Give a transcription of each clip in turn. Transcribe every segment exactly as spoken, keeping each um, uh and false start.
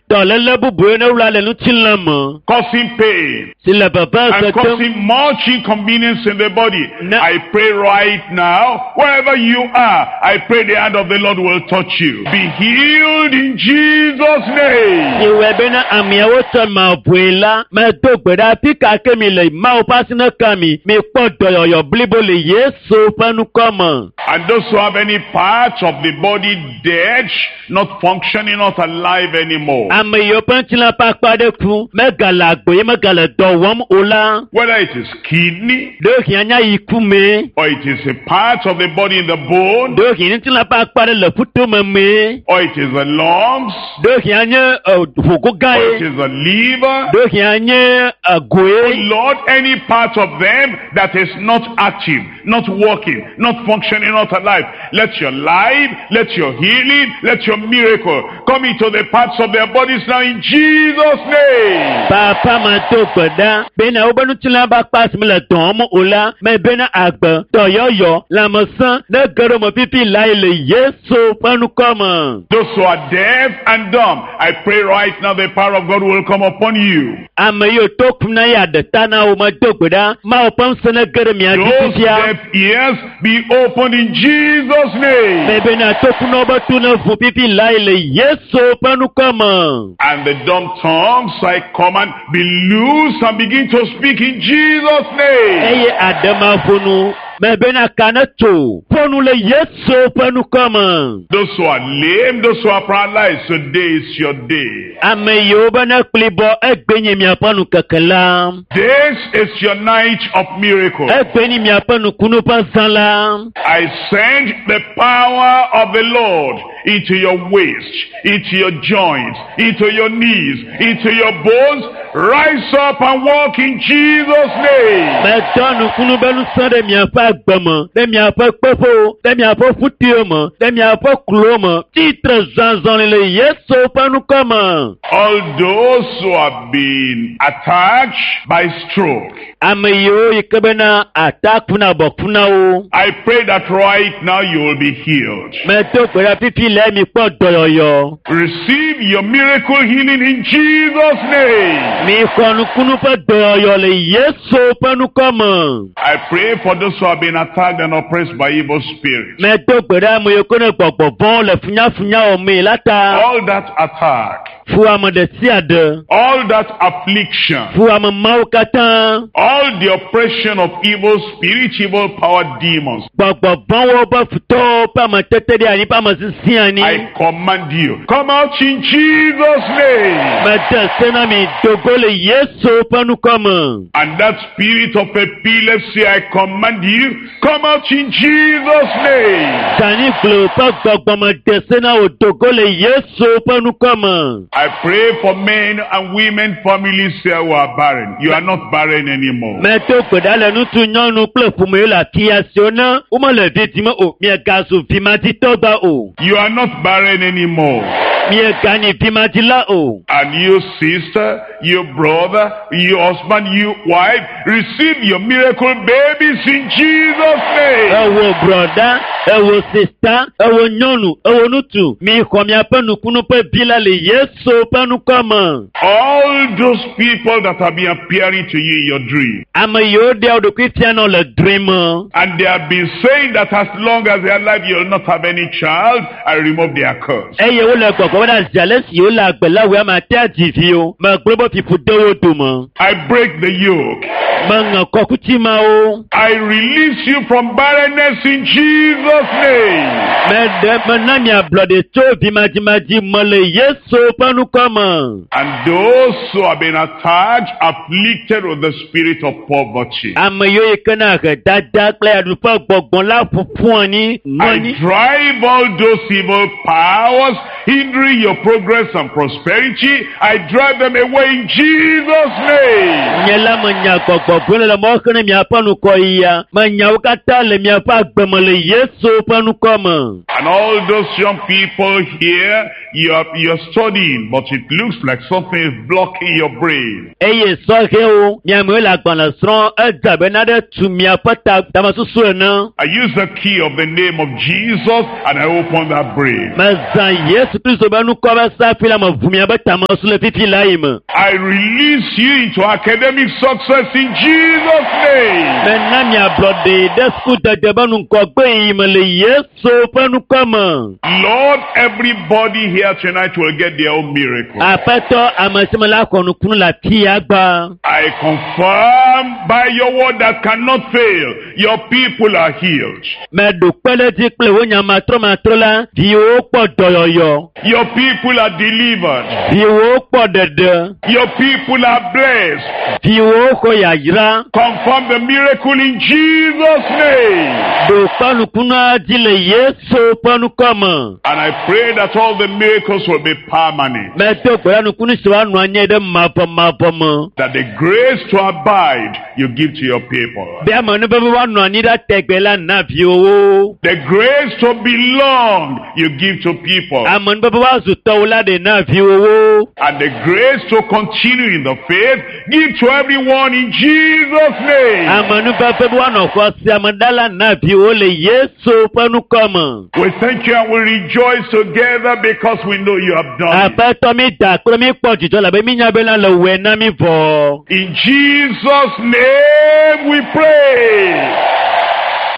Dɔléle bubu yi ne wla le ŋutilã me causing pain, si le veve and se dem causing much inconvenience in the body. No. I pray right now, wherever you are, I pray the hand of the Lord will touch you. Be healed in Jesus' name. Si wɔe bena ameawo tsɔ mavɔe la medo gbe ɖa afi ka ke mi le Mawu ƒe asi ne ka mi mikpɔ dɔyɔyɔ blibo le Yesu ƒe ŋkɔ me. And those who have any part of the body dead, not functioning, not alive anymore. Ame yiwo ƒe ŋutilã ƒe akpa ɖe ku megale agbe ye megale dɔ wɔm o la Whether it is kidney, ɖewohĩ anya yi ku mee or it is a part of the body in the bone, ɖewohĩ ŋutilã ƒe akpa ɖe le ƒutome mee or it is the lungs, ɖewohĩ anye ɛ, ʋugo gã or it ye is the liver. ɖewohĩ anye egoe. Lord, any part of them that is not active, not working, not functioning, not alive, let your life, let your healing, let your miracle come into the parts of their bodies now in Jesus' name. Papa ma do gbe ɖa bena wobe ŋutilã ƒe akpa si mele dɔ wɔm o la mebena agbe, dɔyɔyɔ, lãmesẽ ne ge ɖe me fifi lae le Yesu ƒe ŋkɔ me. Those who are deaf and dumb, I pray right now the power of God will come upon you. Ame yiwo to kum na ya ɖe ta na wo medo gbe ɖa Mawu ƒe ŋusẽ ne ge ɖe mia dzi Those fifia. deaf ears be opened in Jesus' name. Mebena tokunɔwo be to ne ʋu fifi lae le Yesu ƒe ŋkɔ me. And the dumb tongues, I command, be loose and begin to speak in Jesus' name. Eye aɖemaƒonu mebena ka ne tso ƒonu le Yesu ƒe ŋkɔ me. Those who are lame, those who are paralyzed, today is your day. Ame yiwo be ne kplibɔ egbe nye miaƒe nukeke la. This is your night of miracle. Egbe nye miaƒe nukunu ƒe zã la. I send the power of the Lord into your waist, into your joints, into your knees, into your bones. Rise up and walk in Jesus' name. Medɔ nukunu be ŋusẽ ɖe miaƒe agbe me, ɖe miaƒe kpeƒewo, ɖe miaƒe ƒutiwo me, ɖe miaƒe klowo me. Tsitre zɔzɔli le Yesu ƒe ŋkɔ me. All those who have been attacked by stroke, Ame yiwo yi ke bena ata kuna bɔ kuna wo. I pray that right now you will be healed. Medo gbe ɖa fifi le mi kpɔ dɔyɔyɔ. Receive your miracle healing in Jesus' name. Mi xɔ nukunu ƒe dɔyɔyɔ le Yesu ƒe ŋkɔ me. I pray for those who have been attacked and oppressed by evil spirits. Medo gbe ɖa ame yiwo ke ne gbɔgbɔ vɔ̃wo le funyafunya wɔmee la ta. All that attack, Fu ame ɖe sia ɖe. all that affliction, Fu ame mawo katã. all the oppression of evil spirits, evil power demons. Gbɔgbɔ vɔ̃wo ƒe futɔwo ƒe ametete ɖe anyi ƒe ame sisi anyi. I command you, come out in Jesus' name. Mede se na mi dogo le Yesu ƒe ŋkɔ me. And that spirit of epilepsy, I command you, come out in Jesus' name. Dani gblɔ ƒe gbɔgbɔ me de se na wò dogo le Yesu ƒe ŋkɔ me. I pray for men and women, families here who are barren. You are not barren anymore. Medo gbe ɖa le ŋutsu, nyɔnu kple ƒome yiwo le afia siwo ne womele vi dim o, miegazu vimaditɔ gba o. You are not barren anymore. Mieganyi vimadila o. And you sister, you brother, you husband, you wife, receive your miracle babies in Jesus' name. Ewo brɔda, ewo sista, ewo nyɔnu, ewo ŋutsu, mi xɔ miaƒe nukunu ƒe vi la le Yesu ƒe ŋkɔ me. All those people that have been appearing to you in your dream, Ame yiwo ɖea wo ɖokui fiana le drɔ̃e me. and they have been saying that as long as they are alive, you'll not have any child, I remove their curse. Eye wole gbɔgbɔ bena zi ale si wole agbe la wòe ame ate adzi vi o. Megblɔ be fiƒu de wo dome. I break the yoke. Meŋe kɔkuti mawo. I release you from barrenness in Jesus' name. Meɖe mena mi ablɔɖe tso vimadzimadzi me le Yesu ƒe ŋkɔ me. And those who have been attacked, afflicted with the spirit of poverty. Ame yiwo yi ke na ahedada kple yaɖuƒe gbɔgbɔ la ƒoƒu anyi nɔ I anyi. drive all those evil powers hindering your progress and prosperity. I drive them away in Jesus' name. Nye la menya gbɔgbɔ vɔ̃ le mɔ xe ne miaƒe ŋkɔyia. Menya wo katã le miaƒe agbe me le Yesu ƒe ŋkɔ me. And all those young people here, you are, you're studying, but it looks like something is blocking your brain. Eye sɔhɛwo, miamewo le agbalẽ srɔ̃m edze abe nane tu miaƒe ta tamesusu ene. I use the key of the name of Jesus and I open that brain. Mezã Yesu Yesu Kristo be nukɔ be safi la me ʋu miabe tamesu le fifi la yi me. I release you into academic success in Jesus' name. Mena miablɔɖe ɖe sukudede be ŋgɔgbe yi me le Yesu ƒe nukɔ me. Lord, everybody here tonight will get their own miracle. Aƒetɔ ame si me la xɔ nukunu le afi ya gba. I confirm by your word that cannot fail, your people are healed. Meɖo kpe ɖe edzi kple wò nya matrɔmatrɔ la, viwòwo kpɔ dɔyɔyɔ, Your people are delivered. viwòwo kpɔ ɖeɖe, Your people are blessed. viwòwo xɔ yayra. Confirm the miracle in Jesus' name. Ɖo kpe nukunua dzi le Yesu ƒe nukɔ me. And I pray that all the miracles will be permanent. Medo gbe ɖa nukunu si woanɔ anyi ɖe mavɔmavɔ me. That the grace to abide you give to your people. Be ame nuveve woanɔ anyi ɖa tegbe la na viwòwo. The grace to belong you give to people. Ame nuveve woazu tɔwo la ɖe na viwòwo. And the grace to continue in the faith give to everyone in Jesus' name. Ame nuveve be woanɔ xɔse ame ɖa la na viwòwo le Yesu ƒe nukɔ me. We thank you and we rejoice together because we know you have done it. Aƒetɔ mi da kple mi kpɔ dzidzɔ labe mi nya bena le wɔe na mi vɔ. In Jesus' name we pray.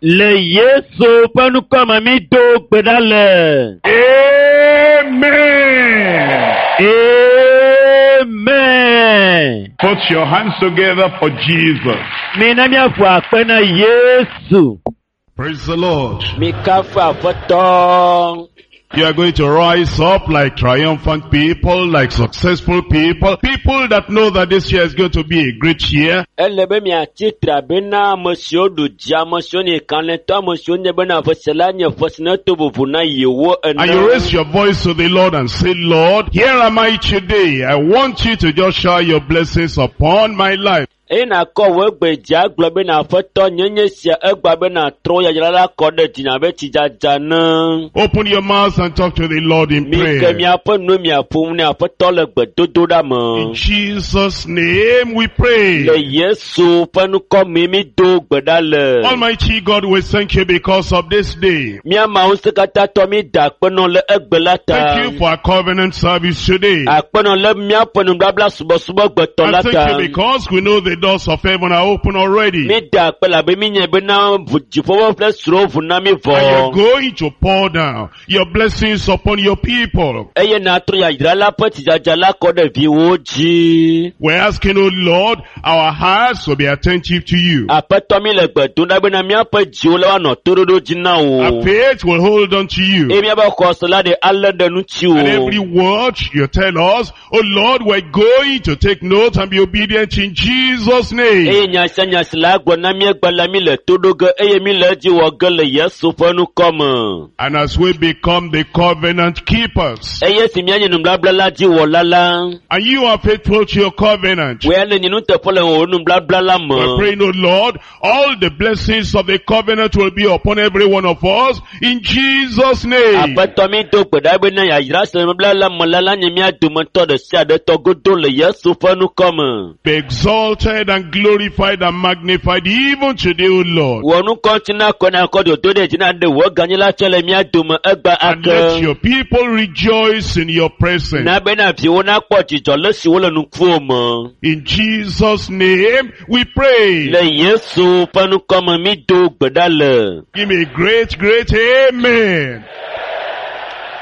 Le Yesu ƒe nukɔ me mi do gbe ɖa le. Amen. Amen. Put your hands together for Jesus. Mi na miaƒo akpe na Yesu. Praise the Lord. Mikafu aƒetɔ. You are going to rise up like triumphant people, like successful people, people that know that this year is going to be a great year. Ele be miatsi tre abe na ame siwo ɖu dzi, ame siwo nye kalẽtɔ, ame siwo nye bena ƒe la nye ƒe si neto vovo na yewo ene. And you raise your voice to the Lord and say, Lord, here am I today. I want you to just shower your blessings upon my life. Eye nakɔ wò egbe dzi agblɔ bena aƒetɔ nye nye sia egba bena trɔ yayra la kɔ ɖe dzinye abe tsidzadza ne. Open your mouth and talk to the Lord in Mi ke prayer. miaƒe nu miaƒo nu ne aƒetɔ le gbedodoɖa In me. Jesus' name we Le pray. Yesu ƒe ŋkɔ me mi do gbe ɖa le. Almighty God, we thank you because of this day. Mía Mawu ŋusẽkatãtɔ mi da akpe nɔ le egbe la ta. Thank you for our covenant service today. Akpe nɔ le míaƒe nubabla subɔsubɔ gbetɔ la And thank ta. you because we know the doors of heaven are open already. Mi da akpe labe mi nye bena ʋu- dziƒowo ƒe srɔ̃wo ʋu na mi And vɔ. you're going to pour down your blessings upon your people. Eye natrɔ yayra la ƒe tsidzadza la kɔ ɖe viwòwo dzi. We're asking, oh Lord, our hearts will be attentive to you. Aƒetɔ mi le gbe dom ɖa bena míaƒe dziwo la woanɔ toɖoɖo dzi na Our wò. faith will hold on to you. Eye míaƒe xɔse la ɖe alé ɖe ŋuti And every wò. word you tell us, oh Lord, we're going to take note and be obedient in Jesus' name. Eye nya sia nya si la gblɔ na mí egbe la mi le to ɖo ge eye mi le edzi wɔ ge le Yesu ƒe ŋkɔ me. And as we become the covenant keepers, Eye si míanye nubabla la dzi wɔla la, and you are faithful to your covenant, wòe le nye nuteƒe le wò nubabla la we're me. praying, oh Lord, all the blessings of the covenant will be upon every one of us in Jesus' name. Aƒetɔ mi do gbe ɖa bena yayra si le nubabla la me la la nye mía dometɔ ɖe sia ɖe tɔ godo le Yesu ƒe ŋkɔ me. Be exalted and glorified and magnified even today, O Lord. Wò ŋkɔ ŋuti na kɔ na kɔ dodo ɖe dzi na ɖe wò gãnyi la tsɔ le mía dome egbe And let ake. your people rejoice in your presence. Na bena viwo nakpɔ dzidzɔ le si wole ŋkuwò me. In Jesus' name we pray. Le Yesu ƒe ŋkɔ me mi do gbe ɖa le. Give me a great, great amen.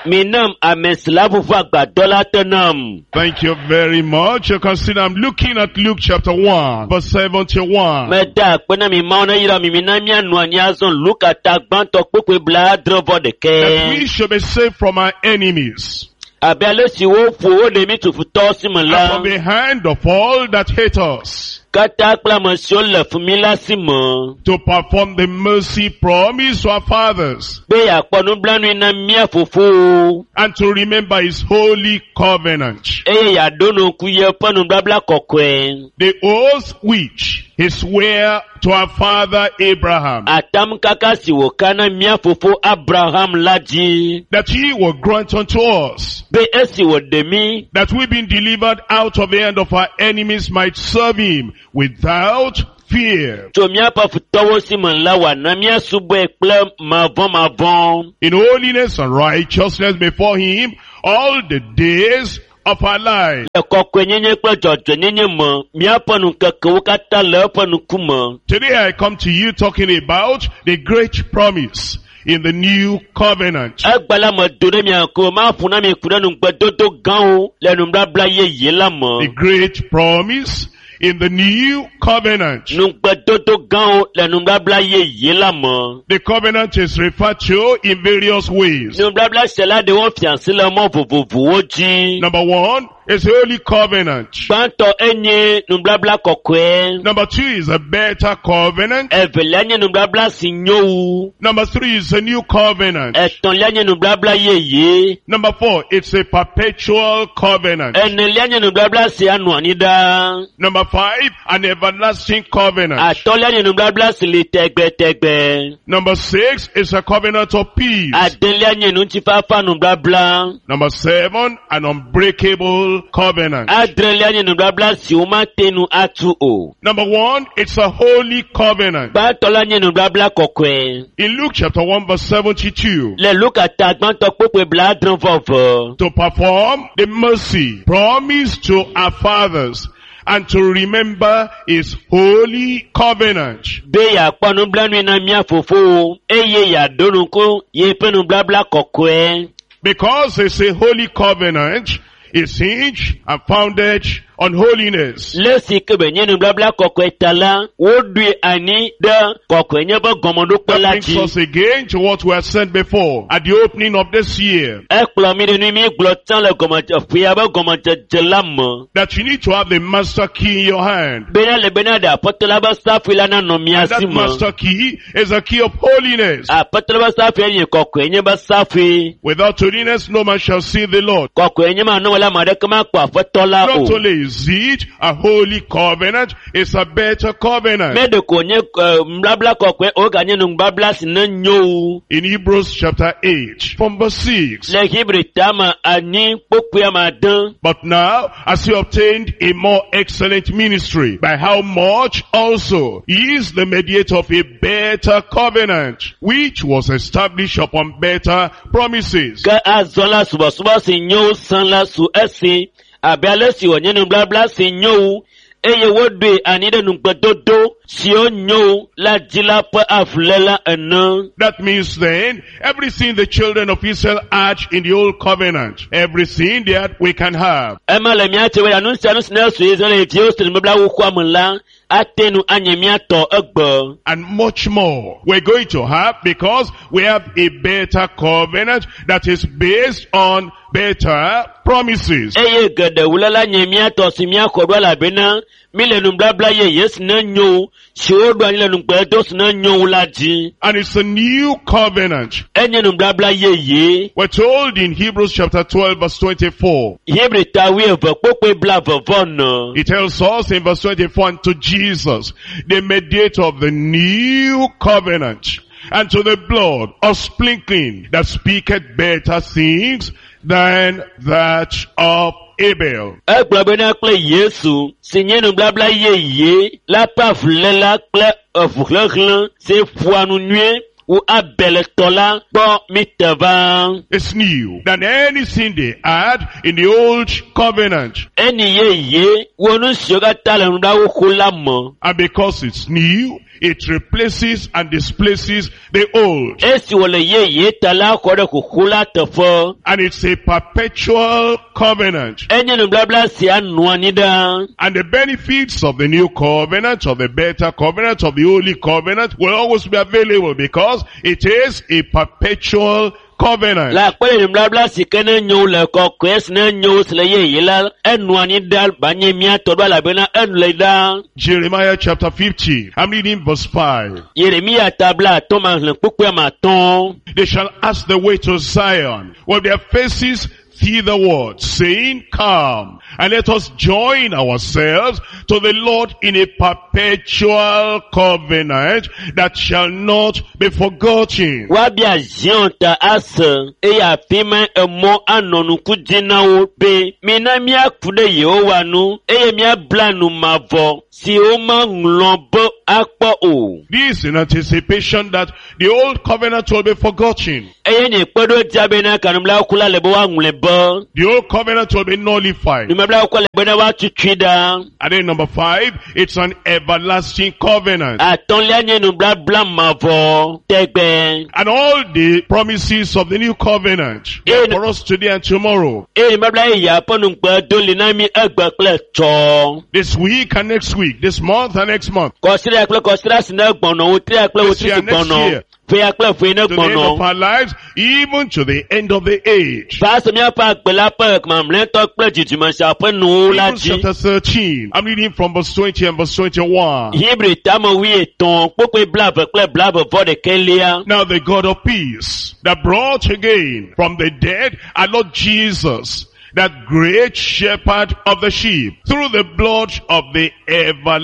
Mi nam ame si la ʋuʋu agbadɔ la te nam. Thank you very much. You can see I'm looking at Luke chapter one, verse seventy-one. Meda akpe na mi Mawu ne yra mi mi na míanɔ anyi azɔ Luka ta gbãtɔ kpukpui blaadre vɔ That ɖekɛ. we should be saved from our enemies Abe ale si woƒo wo ɖe mi tufutɔwo si me and la, from the hand of all that hate us, katã kple ame siwo le fi mi la si me. to perform the mercy promised to our fathers Be yeakpɔ nublanui na mía fofowo and to remember his holy covenant. eye yeaɖo ŋku yeƒe nubabla kɔkɔe. The oath which he sware to our father Abraham, Atam kaka si wòka na mía fofo Abraham la dzi. that he will grant unto us, Be esi wòɖe mí that we being delivered out of the hand of our enemies might serve him without fear, tso míaƒe futɔwo si me la wòana míasubɔe kple mavɔmavɔ. in holiness and righteousness before him all the days of our life. Le kɔkɔenyenye kple dzɔdzɔenyenye me, míaƒe nukekewo katã le eƒe ŋkume. Today I come to you talking about the great promise in the new covenant. Egbe la me do ɖe mia ŋkume, maƒo na mi ku ɖe nugbedodo gãwo le nubabla yeye la The me. great promise in the new covenant. Nugbedodo gãwo le nubabla yeye la me. The covenant is referred to in various ways. Nubabla sia la ɖewo fia asi le mɔ vovovowo dzi. Number one is the holy covenant. Gbãtɔ enye nubabla kɔkɔe. Number two is a better covenant. Evelia nye nubabla si nyo wu. Number three is a new covenant. Etɔ̃lia nye nubabla yeye. Number four, it's a perpetual covenant. Enelia nye nubabla si anɔ anyi ɖaa. Number five, an everlasting covenant. Atɔ̃lia nye nubabla si li tɛgbɛtɛgbɛ. Number six is a covenant of peace. Adelia nye ŋutifafa nubabla. Number seven, an unbreakable covenant. Adrelia nye nubabla si womate nu atu o. Number one, it's a holy covenant. Gbãtɔ la nye nubabla kɔkɔe. In Luke chapter one verse seventy-two, Le Luka ta gbãtɔ kpokpoe blaadre vɔ eve. to perform the mercy promised to our fathers and to remember his holy covenant. Be yeakpɔ nublanui na mía fofowo eye yeaɖo ŋku yeƒe nubabla kɔkɔe. Because it's a holy covenant, it's hinged and founded on holiness. Le si ke be nye nubabla kɔkɔe ta la, woɖoe anyi ɖe kɔkɔenye ƒe gɔmeɖokpe That la brings dzi. us again to what we have said before at the opening of this year. Ekplɔ mi ɖe nu mi gblɔ tsã le gɔmedze ƒea ƒe gɔmedzedze la me. That you need to have the master key in your hand. Bena le bena ɖe aƒetɔ la ƒe safui la nanɔ mia si That me. master key is a key of holiness. Aƒetɔ la ƒe safui nye kɔkɔenye ƒe safui. Without holiness, no man shall see the Lord. Kɔkɔenye manɔ la ame aɖeke makpɔ aƒetɔ la Not o. only is it a holy covenant, it's a better covenant. Me ɖeko nye eh, nubabla kɔkɔe o ganye nubabla si ne nyo wu. In Hebrews chapter eight, from verse six. Le Hebrew tame anyi kpokpoe ame ade. But now, as he obtained a more excellent ministry, by how much also he is the mediator of a better covenant, which was established upon better promises. Ke azɔ la subɔsubɔ si nyo sã la su esi abe ale si wònye nubabla si nyo wu eye woɖoe anyi ɖe nugbedodo siwo nyo la dzi la ƒe avuléla ene. That means then, everything the children of Israel had in the old covenant, everything they had, we can have. Ema le mía tse be nu sia nu si ne su Israelviwo si nubabla xoxoa me la ate nu anye mía tɔ egbe. And much more we're going to have because we have a better covenant that is based on better promises. Eye geɖe wu la la nye mía tɔ si míaxɔ ɖo elabena mí le nubabla yeye si ne nyo si woɖo anyi le nugbedo si ne nyo wu la dzi. And it's a new covenant. Enye nubabla yeye. We're told in Hebrews chapter twelve verse twenty-four. Hebrew ta wuieve kpokpoe blaeve vɔ ene. It tells us in verse twenty-four, and to Jesus, the mediator of the new covenant, and to the blood of sprinkling that speaketh better things than that of Abel. Egblɔ bena kple Yesu si nye nubabla yeye la ƒe avuléla kple eʋuhlẽhlẽ si ƒoa nu nyuie wu Abel tɔ la gbɔ mi te va. It's new than anything they had in the old covenant. Eni yeye wo nu siwo katã le nubabla xoxo la me. And because it's new, it replaces and displaces the old. Esi wòle yeye ta la xɔ ɖe xoxo la teƒe. And it's a perpetual covenant. Enye nubabla sia nɔ anyi ɖaa. And the benefits of the new covenant, of the better covenant, of the holy covenant will always be available because it is a perpetual covenant. Le akpe ɖe nubabla si ke ne nyo le kɔkɔe si ne nyo si le yeye la, enɔ anyi ɖaa ba nye mía tɔ ɖo elabena enu le ɖaa. Jeremiah chapter fifty, I'm reading verse five. Yeremia ta bla atɔ̃ ma xlẽ kpukpui ame atɔ̃. They shall ask the way to Zion with their faces thitherward, saying, Come, and let us join ourselves to the Lord in a perpetual covenant that shall not be forgotten. Woabia Zion ta ase eye afi ma emɔ anɔ nuku dzi na wo be mina míaku ɖe Yehowa nu eye míabla nu mavɔ si womaŋlɔ be akpɔ o. This in anticipation that the old covenant will be forgotten. Eye nye kpeɖodzia bena kanublaku la le be woaŋlɔe be. be The old covenant will be nullified. nubabla xoxoa le bena woatutui ɖa. And then number five, it's an everlasting covenant. Atɔ̃lia nye nubabla mavɔ tɛgbɛ. And all the promises of the new covenant Yeah. for us today and tomorrow, Eye nubabla yeyea ƒe nugbe do li na mi egbe kple tsɔ. this week and next week, this month and next month, Kɔsiɖa kple kɔsiɖa si ne gbɔnɔ, wotria kple This wotri year, si next gbɔnɔ, year. ƒea kple ƒe ne to the end of gbɔnɔ. our lives, even to the end of the age. Va se míaƒe agbe la ƒe mamlɛtɔ kple dzidzime sia ƒe nuwo la Hebrews dzi. chapter thirteen, I'm reading from verse twenty and verse twenty-one. Hebrew tame wuietɔ̃ kpukpui blaeve kple blaeve vɔ ɖekɛlia. Now the God of peace that brought again from the dead our Lord Jesus, that great shepherd of the sheep, through the blood of the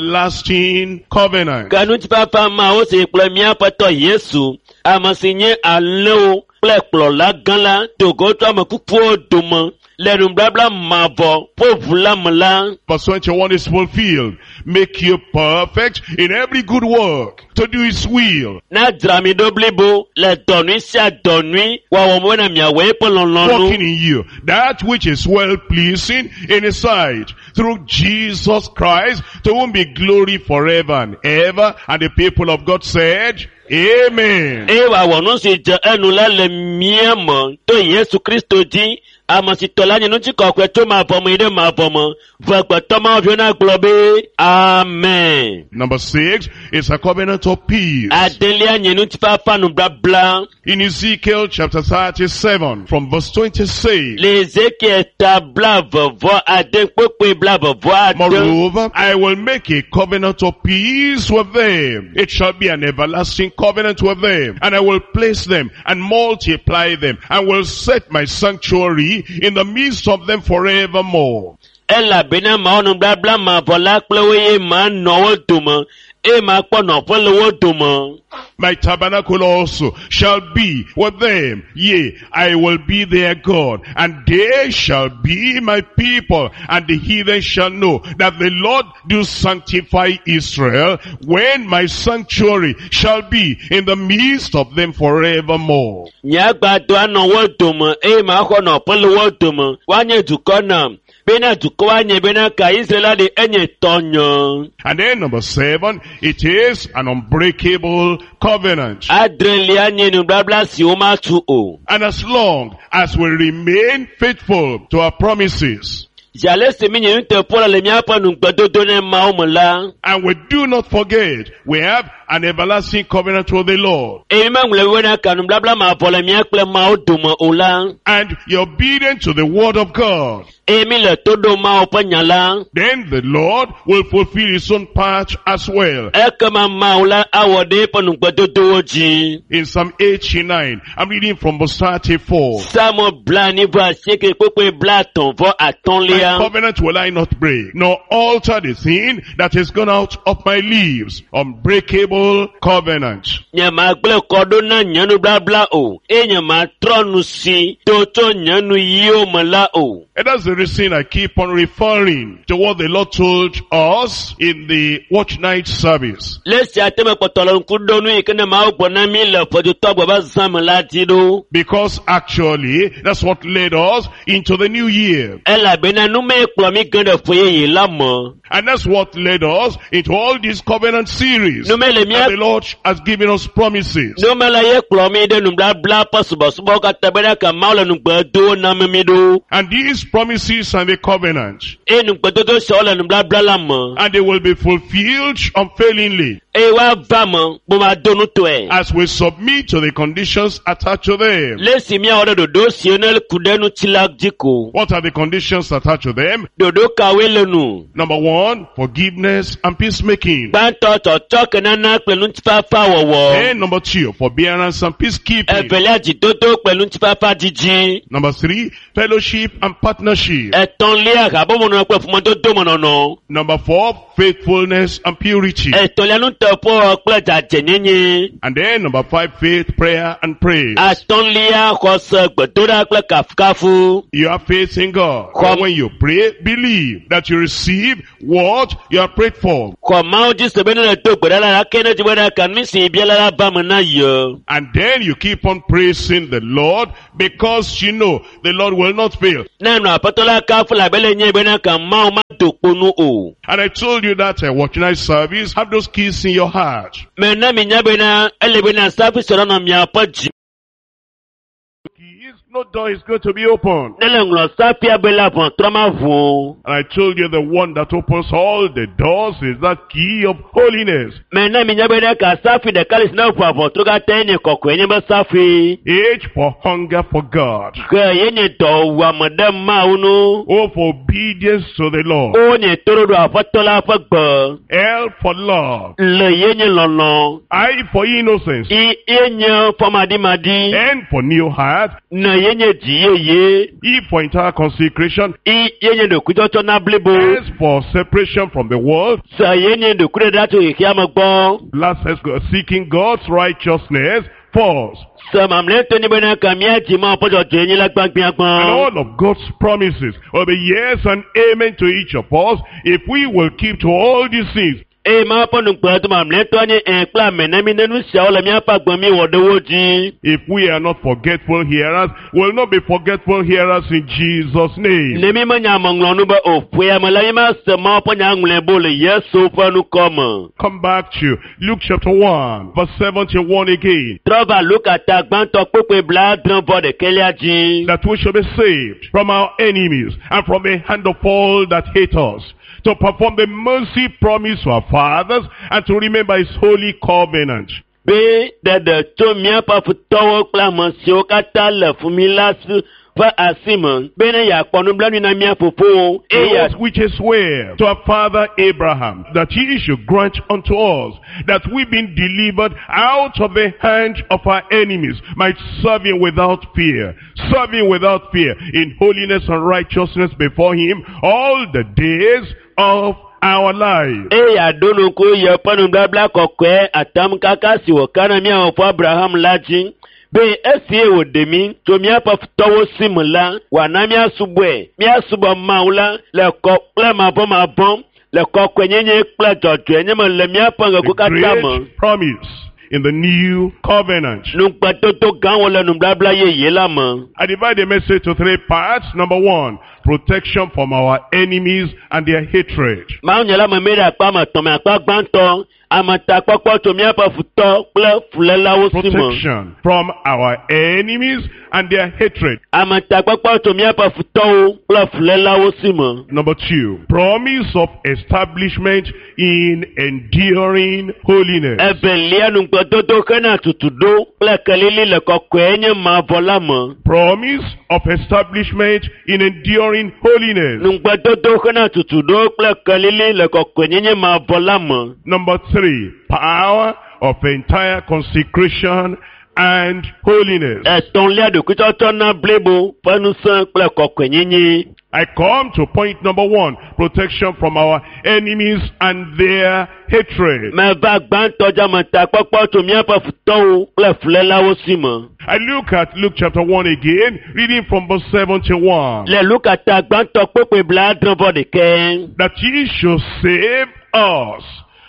everlasting covenant. Ke ŋutifafa mawo si kple míaƒe tɔ Yesu, ame si nye alẽwo kple kplɔla gã la, do go tso ame kukuwo dome le nubabla mavɔ ƒe ʋu la me la. Verse twenty-one is fulfilled. Make you perfect in every good work to do his will. Na dzra mi ɖo blibo le dɔ nyui sia dɔ nyui wɔwɔ me bena miawɔ eƒe lɔlɔ̃nu. Working in you that which is well pleasing in his sight, through Jesus Christ, to whom be glory forever and ever. And the people of God said, Amen. Eye wòawɔ nu si dze enu la le mía me to Yesu Kristo dzi, ame si tɔ la nye ŋutikɔkɔe tso mavɔ me yi ɖe mavɔ me. Ve gbetɔ Mawu na gblɔ be Amen. Number six is a covenant of peace. Adelia nye ŋutifafa nubabla. In Ezekiel chapter thirty-seven from verse twenty-six. Le Ezekiel ta blaeve vɔ ade kpokpoe blaeve vɔ ade. Moreover, I will make a covenant of peace with them. It shall be an everlasting covenant with them. And I will place them and multiply them, and will set my sanctuary in the midst of them forevermore. Elabena mawɔ nubabla mavɔ la kple wo eye manɔ wo dome eye makpɔ nɔƒe le wo dome. My tabernacle also shall be with them. Yea, I will be their God, and they shall be my people, and the heathen shall know that the Lord do sanctify Israel, when my sanctuary shall be in the midst of them forevermore. Nye agbadɔ anɔ wo dome eye maxɔ nɔƒe le wo dome. Woanye dukɔ nam. Bena dukɔ woanye bena ka Israel la ɖe enye tɔnye. And then number seven, it is an unbreakable covenant. Adrelia nye nubabla si womatu o. And as long as we remain faithful to our promises, Zi ale si mi nye nuteƒe le míaƒe nugbedodo ne Mawu me la, and we do not forget, we have an everlasting covenant with the Lord. eye mi meŋlɔ bena ka nubabla mavɔ le mía kple Mawu dome o la, And you're obedient to the word of God. eye mi le to ɖom Mawu ƒe nya la, Then the Lord will fulfill his own part as well. ekema Mawu la awɔ ɖe eƒe nugbedodowo dzi. In Psalm eighty-nine, I'm reading from verse thirty-four. Psalmo blaenyi vɔ asieke kpukpui blaetɔ̃ vɔ My atɔ̃lia. covenant will I not break, nor alter the thing that is gone out of my lips. Unbreakable covenant. Nye magblẽ kɔ ɖo na nye nubabla o, eye nye matrɔ nu si do tso nye nuyiwo me la o. And that's the reason I keep on referring to what the Lord told us in the watch night service. Le esia te mekpɔtɔ le ŋku ɖom nu yi ke ne Mawu gblɔ na mi le ƒedotɔ gbe be zã me la dzi ɖo. Because actually, that's what led us into the new year. Elabena nu mee kplɔ mi ge ɖe ƒe yeye la me. And that's what led us into all this covenant series. Nu me le mía And the Lord has given us promises. nu me la ye kplɔ mi ɖe nubabla ƒe subɔsubɔ katã bena ke Mawu le nugbe do na mi mi ɖo. And these promises and the covenant, Eye nugbedodo siawo le nubabla la me. and they will be fulfilled unfailingly Eye woava me kpomado nutɔe. as we submit to the conditions attached to them. Le esi míawɔ ɖe ɖoɖo siwo ne ku ɖe ŋuti la dzi ko. What are the conditions attached to them? Ɖoɖo kawoe le nu? Number one, forgiveness and peacemaking. Gbãtɔ tsɔtsɔ ke nana kple ŋutifafa wɔwɔ. Then number two, forbearance and peacekeeping. Evelia dzidodo kple ŋutifafa dzidzi. Number three, fellowship and partnership. Etɔ̃lia habɔbɔnɔnɔ kple ƒomedodomenɔnɔ. Number four, faithfulness and purity. Etɔ̃lia nuteƒewɔwɔ kple dzadzɛnyenye. And then number five, faith, prayer, and praise. Atɔ̃lia xɔse gbedoɖa kple kafukafu. You have faith in God. Come. When you pray, believe that you receive what you have prayed for. Xɔ Mawu dzi se be ne le do gbe ɖa la, ake ne dzi bena ka nu si bia la la va me na ye. And then you keep on praising the Lord because you know the Lord will not fail. Ne nɔ aƒetɔ la kafu la abe le nye bena ka Mawu ma do kpo nu o. And I told you that a watch night service, have those keys in your heart. Mɛ na mi nya bena ele bena safi sɔrɔ nɔ miaƒe dzi. Keys, no door is going to be open. Ne le ŋlɔ safia be la ʋɔtrɔ ma ʋu o. And I told you the one that opens all the doors is that key of holiness. Mɛ na mi nya bena ka safi ɖeka le si ne ʋua ʋɔtrɔ katã ye nye kɔkɔe nye be safi. H for hunger for God. Ge ye nye dɔwuame ɖe Mawu nu. O for obedience to the Lord. O nye toɖoɖo aƒetɔ la ƒe gbe. L for love. Le ye nye lɔlɔ. I for innocence. I ye nye fɔmaɖimaɖi. N for new heart. Ne ye nye dzi yeye. E for entire consecration. I ye nye ɖokuitsɔtsɔ na blibo. S for separation from the world. Se ye nye ɖokuiɖeɖe tso xexea me gbɔ. Last S, seeking God's righteousness first. Se mamlɛtɔ nye bena ka mía dzi Mawu ƒe dzɔdzɔenye la gbãgbiagbã. And all of God's promises will be yes and amen to each of us if we will keep to all these things. Eye Mawu ƒe nugbedo mamlɛtɔ nye ẽ kple ame ne mi ne nu siawo le míaƒe agbe mi wɔ ɖe wo dzi. If we are not forgetful hearers, we'll not be forgetful hearers in Jesus' name. Ne mi menya ameŋlɔ nu be o ƒoe ame la mi ma se Mawu ƒe nya ŋlɔe bo le Yesu ƒe nukɔ me. Come back to Luke chapter one, verse seventy-one again. Trɔ va Luka ta gbãtɔ kpukpui blaadre vɔ ɖekɛlia dzi. That we shall be saved from our enemies and from the hand of all that hate us, to perform the mercy promised to our fathers and to remember his holy covenant. Be ɖeɖe tso míaƒe futɔwo kple ame siwo katã le fu mi la si ƒe asi me bene yeakpɔ nublanui na mía fofowo eye Those which is swear to our father Abraham, that he should grant unto us, that we being delivered out of the hand of our enemies, might serve him without fear, serve him without fear, in holiness and righteousness before him all the days of our life. Eye yeaɖo ŋku yeƒe nubabla kɔkɔe atamkaka si wòka na mía fofo Abraham la dzi be esi wòɖe mí tso míaƒe futɔwo si me la, wòana míasubɔe, míasubɔ Mawu la le kɔ kple mavɔmavɔ, le kɔkɔenyenye kple dzɔdzɔenye me le míaƒe The ŋgɔgbe katã me. great promise in the new covenant. Nugbedodo gãwo le nubabla yeye la me. I divide the message to three parts. Number one, protection from our enemies and their hatred. Mawu nye la me mi ɖe akpa me etɔ̃ me akpa gbãtɔ, ametakpɔkpɔ tso míaƒe futɔ kple fulélawo si me. Protection from our enemies and their hatred. Ametakpɔkpɔ tso míaƒe futɔwo kple fulélawo si me. Number two, promise of establishment in enduring holiness. Evelia nugbedodo hena tutuɖo kple kelili le kɔkɔe nye mavɔ la me. Promise of establishment in enduring holiness. Nugbedodo hena tutuɖo kple kelili le kɔkɔenyenye mavɔ la me. Number three, power of entire consecration and holiness. Etɔ̃lia ɖokuitsɔtsɔ na blibo ƒe ŋusẽ kple kɔkɔenyenye. I come to point number one, protection from our enemies and their hatred. Meva gbãtɔ dze ametakpɔkpɔ tso míaƒe futɔwo kple fulélawo si me. I look at Luke chapter one again, reading from verse seventy-one. Le Luka ta gbãtɔ kpukpui blaadre vɔ ɖekɛ. That he should save us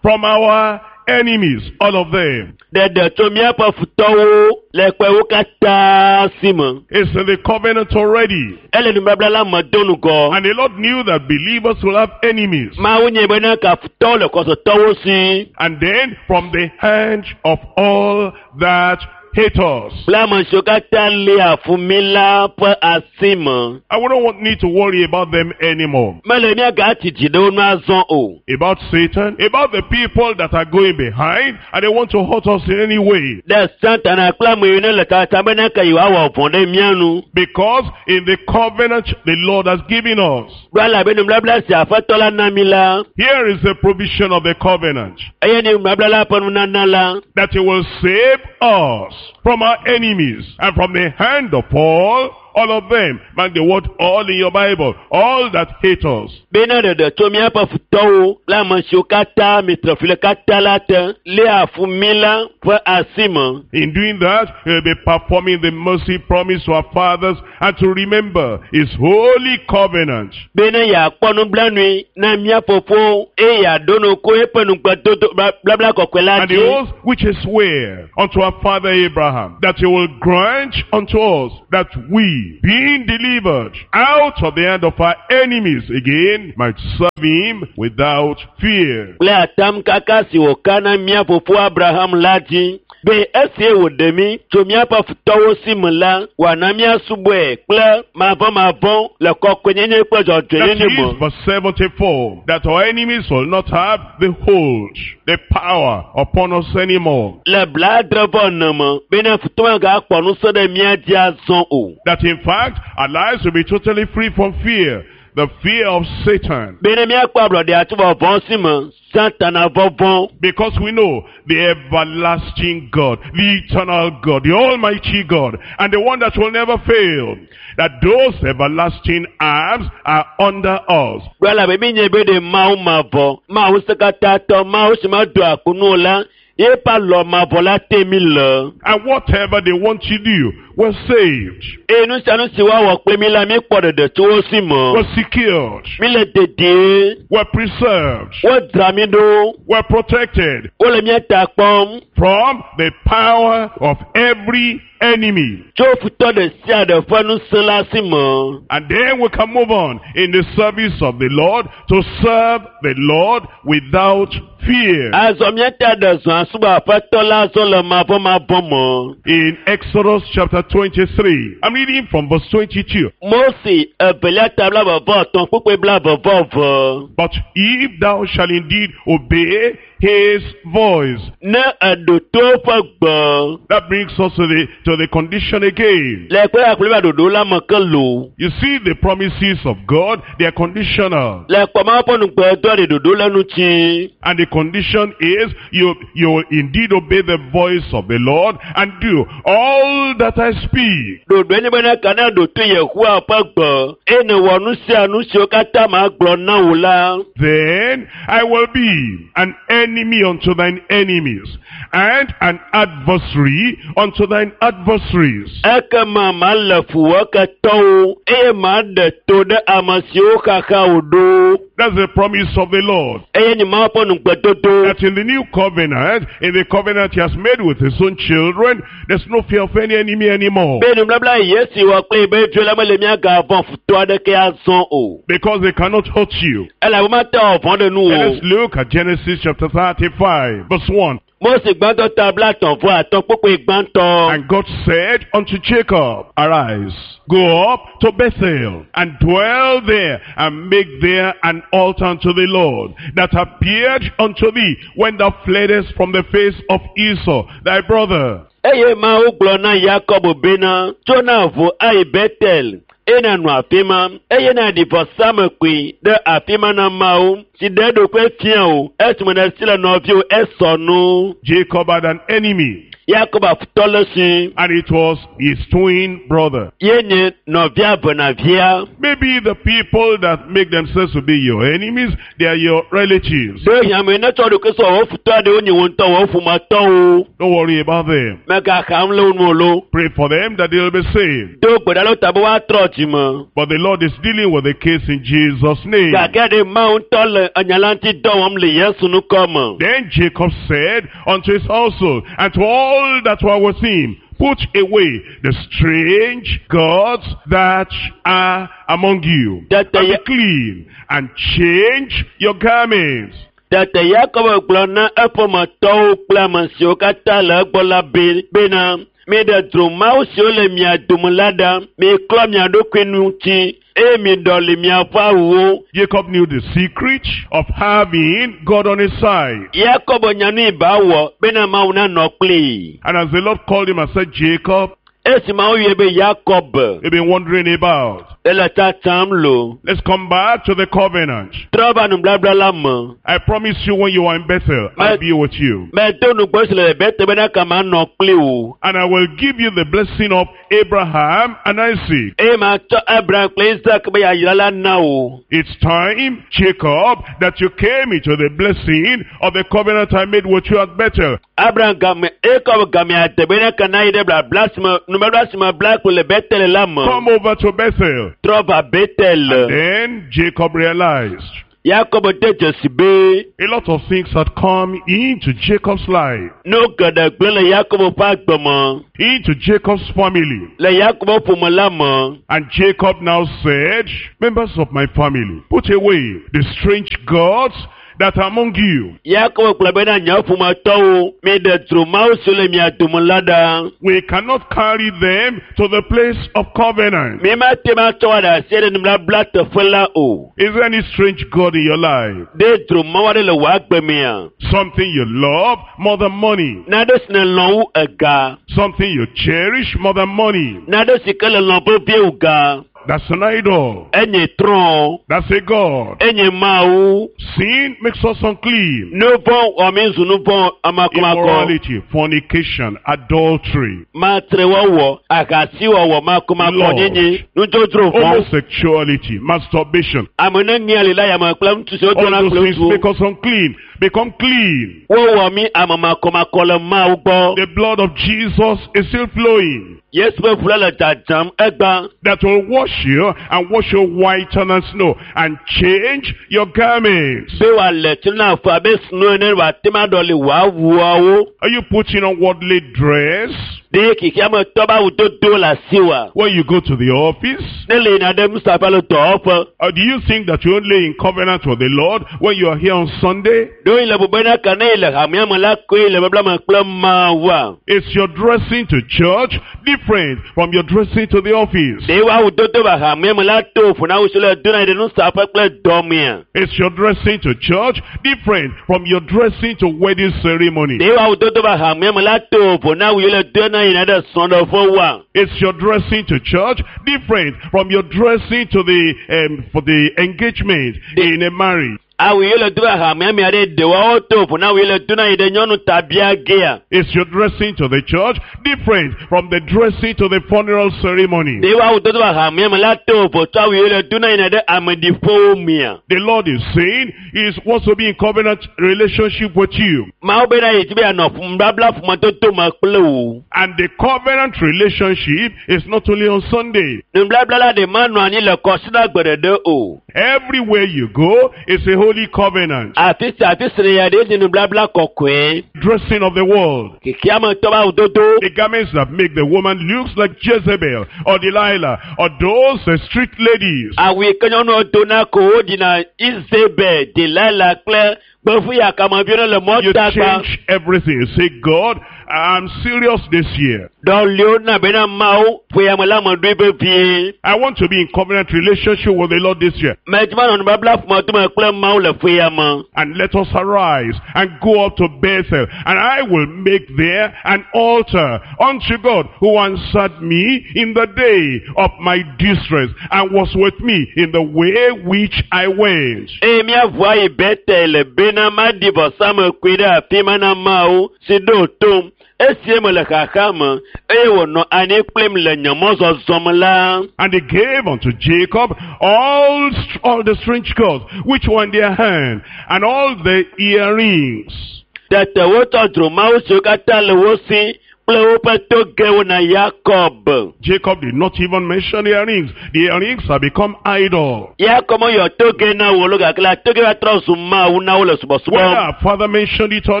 from our enemies, all of them. Ɖeɖe tso míaƒe futɔwo le kpewo katã si me. It's in the covenant already. Ele nubabla la me do ŋgɔ. And the Lord knew that believers will have enemies. Mawu nye bena ka futɔwo le xɔsetɔwo si. And then from the hand of all that hate us. Kple ame siwo katã lia fu mí la ƒe asi me. I wouldn't want need to worry about them anymore. Mele míagatsi dzi ɖe wo nu azɔ o. About Satan, about the people that are going behind and they want to hurt us in any way. Ɖe Satana kple ame yiwo ne le tata bena ke yewoawɔ vɔ̃ ɖe mía nu. Because in the covenant the Lord has given us, Ɖo elabe nubabla si Aƒetɔ la na mí la, here is the provision of the covenant. eye ne nubabla la ƒe nunana la, That he will save us from our enemies and from the hand of all All of them. Mark the word all in your Bible. All that hate us. Bena ɖeɖe tso míaƒe futɔwo kple ame siwo katã mitre fi le katã la te léa fu mí la ƒe asi me. In doing that, he'll be performing the mercy promise to our fathers and to remember his holy covenant. Bena yeakpɔ nublanui na mía fofowo eye yeaɖo ŋku eƒe nugbedodo bla- blabla kɔkɔe la And the dzi. oath which is swear unto our father Abraham, that he will grant unto us that we, being delivered out of the hand of our enemies again, might serve him without fear. Kple atam kaka si wòka na mía fofo Abraham la dzi be esie wòɖe mí tso míaƒe futɔwo si me la, wòana míasubɔe kple mavɔmavɔ le kɔkɔenyenye kple That dzɔdzɔenyenye me. is verse seventy-four, that our enemies will not have the hold, the power upon us anymore. Le blaadre vɔ ene me bena futɔ magakpɔ ŋusẽ ɖe mía dzi azɔ o. That in fact, our lives will be totally free from fear, the fear of Satan. Bena míakpɔ ablɔɖe atso vɔvɔ̃ si me, Satana vɔvɔ̃. Because we know the everlasting God, the eternal God, the almighty God, and the one that will never fail, that those everlasting arms are under us. Gblɔ elabe mi nye be ɖe Mawu mavɔ, Mawu sekatãtɔ, Mawu si medoa ku nu o la, yeƒe alɔ mavɔ la te mi le. And whatever they want to do, we're saved, Eye nu sia nu si woawɔ kple mi la, míkpɔ ɖeɖe tso wo si me. we're secured, Mi le dedie, we're preserved, wodzra mi ɖo, we're protected wole mía ta kpɔm from the power of every enemy. tso futɔ ɖe sia ɖe ƒe ŋusẽ la si me. And then we can move on in the service of the Lord to serve the Lord without fear. Azɔ míata ɖe zɔ asubɔ aƒetɔ la azɔ le mavɔmavɔ me. In Exodus chapter twenty-three, I'm reading from verse twenty-two. Mose evelia ta blaeve vɔ etɔ̃ kpukpui blaeve vɔ eve. But if thou shalt indeed obey his voice. Ne eɖo to eƒe gbe. That brings us to the, to the condition again. Le kpe akple va ɖoɖo la me ke lo. You see the promises of God, they are conditional. Le kpɔma ƒe nugbe do ɖe ɖoɖo le ŋuti. And the condition is you, you will indeed obey the voice of the Lord and do all that I speak. Ɖoɖoe nye bena ka ne ɖo to Yehowa ƒe gbe eye nèwɔ nu sia nu siwo katã magblɔ na wò la. Then I will be an enemy unto thine enemies and an adversary unto thine adversaries. Ekema male fu wò ketɔwo eye maɖe to ɖe ame siwo xaxa wò ɖo. That's the promise of the Lord. Eye nye Mawu ƒe nugbedodo. That in the new covenant, in the covenant he has made with his own children, there's no fear of any enemy anymore. Be nubabla Yesu wɔ kple be viwo la mele míagavɔ̃ futɔ aɖeke azɔ o. Because they cannot hurt you. Elabe mate wɔ vɔ̃ ɖe nu And o. let's look at Genesis chapter thirty-five, verse one. Mose gbãtɔ ta blaetɔ̃ vɔ atɔ̃ kpukpui gbãtɔ. And God said unto Jacob, Arise, go up to Bethel, and dwell there, and make there an altar unto the Lord, that appeared unto thee when thou fleddest from the face of Esau, thy brother. Eye Mawu gblɔ na Yakobo bena, tso na ʋu ayi Betel, eye nànɔ afi ma, eye nàɖi vɔsamlekpui ɖe afi ma na Mawu, si ɖe eɖokui fia wò esime nèsi le nɔviwò Esau nu. Jacob had an enemy, Yakobo afutɔ le si, and it was his twin brother. ye nye nɔvia venavia. Maybe the people that make themselves to be your enemies, they are your relatives. Ɖe hiãme ne tsɔ ɖokui sɔ wò futɔ aɖewo nye wò ŋutɔ wò ƒometɔwo. Don't worry about them. Mègaxa nu le wo nu o lo. Pray for them that they'll be saved. Do gbe ɖa ɖe wo ta be woatrɔ dzime. But the Lord is dealing with the case in Jesus' name. Gake ɖe Mawu ŋutɔ le enya la ŋuti dɔ wɔm le Yesu ŋkɔ me. Then Jacob said unto his household and to all that were with him, Put away the strange gods that are among you, That and they- be clean, and change your garments. Tete Yakobo gblɔ na eƒometɔwo kple ame siwo katã le egbɔ la be bena miɖe dzromawu siwo le mia dome la ɖa, miklɔ mia ɖokui ŋuti eye miɖɔli miaƒe awuwo. Jacob knew the secret of having God on his side. Yakobo nya nu yi ba wɔ bena Mawu nanɔ kplii. And as the Lord called him and said, Jacob, Esi Mawu yɔe be Yakob, you've been wandering about. Ele tsatsam lo. Let's come back to the covenant. Trɔ va nublabla la me. I promise you when you are in Bethel, I'll be with you. Medo nugbɔ si le Bete bena kama nɔ kpli wò. And I will give you the blessing of Abraham and Isaac. Eye matsɔ Abraham kple Isaac be yayra la na wò. It's time, Jacob, that you came into the blessing of the covenant I made with you at Bethel. Abraham game Jacob game ade bena kana yi ɖe blabla si me nubabla si me bla kple le Betel la me. Come over to Bethel. Trɔ va Betel. Then Jacob realized Yakob de dzesi be a lot of things had come into Jacob's life, nu geɖe gblẽ le Yakob ƒe agbe me, into Jacob's family. le Yakob ƒome la me. And Jacob now said, members of my family, put away the strange gods that are among you. Yakob gblɔ bena nye ƒometɔwo, miɖe dzro mawo siwo le mia dome la ɖa. We cannot carry them to the place of covenant. Mi mate ŋu atsɔ wo ɖe asi ɖe nubabla teƒe la o. Is there any strange god in your life? Ɖe dzro mawo aɖe le wò agbe mea? Something you love more than money. Nane si nèlɔ̃ wu ega. Something you cherish more than money. Nane si ke le lɔ̃ vevie wu ga. That's an idol. Enye trɔ̃. That's a god. Enye Mawu. Sin makes us unclean. Nu vɔ̃ wɔ mi zu nu vɔ̃ amakomako. Immorality, fornication, adultery, Matrewɔwɔ, ahasiwɔwɔ, makomako nyinyi, nudzodzro vɔ̃. homosexuality, masturbation. Ame ne ŋea li la yame kple ŋutsu siwo All dona those kple things ŋutsuwo. make us unclean. Become clean. Wowɔ mí ame makomakɔ le Mawu gbɔ. The blood of Jesus is still flowing. Yesu ƒe ʋu la le dzadzam egbea. That will wash you and wash you whiter than snow and change your garments. Be wòale tsi na afɔ abe sno ene wòate ŋu aɖɔli wò awuawo. Are you putting on worldly dress Ɖe xexeame tɔ be awudodo le asiwòa? when you go to the office? Ne le yina ɖe nusaƒe alo dɔwɔƒe. Or do you think that you're only in covenant with the Lord when you are here on Sunday? Ɖewohĩ le bu bena ke ne yi le hamea me la koe le babla me kple Mawua. Is your dressing to church different from your dressing to the office? Ɖe wò awudodo va hamea me la to vovo na awu si le dona yi ɖe nusaƒe kple dɔmea? Is your dressing to church different from your dressing to wedding ceremony? Ɖe wò awudodo va hamea me la to vovo na awu yi le dona yina ɖe srɔ̃ɖeƒe woa? Is your dressing to church different from your dressing to the um, for the engagement in a marriage? Awu yi le do va hamea mea ɖe ɖe woawo to vovo na awu yi le dona yi ɖe nyɔnu tabia gea? Is your dressing to the church different from the dressing to the funeral ceremony? Ɖe wò awudodo va hamea me la to vovo tso awu yi le dona yina ɖe ameɖiƒewo mea? The Lord is saying He wants to be in covenant relationship with you. Mawu bena yi dzi be yeanɔ nubabla ƒomedodo me kple wò. And the covenant relationship is not only on Sunday. Nubabla la ɖe manɔ anyi le kɔsiɖagbe ɖeɖe o. Everywhere you go, it's a holy covenant. Afi sia afi si nèyia ɖe nye nubabla kɔkɔe. Dressing of the world. Xexeame tɔ be awudodo. The garments that make the woman looks like Jezebel or Delilah or those uh, street ladies. Awu yi ke nyɔnuwo dona ko woɖina Izebel, Delila kple gbevuyakameviwo ɖe le You mɔtagba. change everything. You say, God, I'm serious this year. Ɖɔliwo na bena Mawu ƒoyame la me ɖoe vevie. I want to be in covenant relationship with the Lord this year. Medzi be manɔ nubabla ƒomedodo me kple Mawu le ƒoyame. And let us arise and go up to Bethel, and I will make there an altar unto God who answered me in the day of my distress and was with me in the way which I went. Eye míaʋu ayi Betel bena maɖi vɔsamlekpui ɖe afi ma na Mawu si ɖo tom esi mele xaxa me eye wònɔ anyi kplim le nye mɔzɔzɔ me la. And they gave unto Jacob all, all the strange gods which were in their hand, and all the earrings. Tete wotsɔ dzromawu siwo katã le wo si kple woƒe togewo na Yakob. Jacob did not even mention the earrings. The earrings have become idol. Yakob meyɔ toge na wo lo gake la toge va trɔ zu Mawu na wo le Whether subɔsubɔm. our father mentioned it or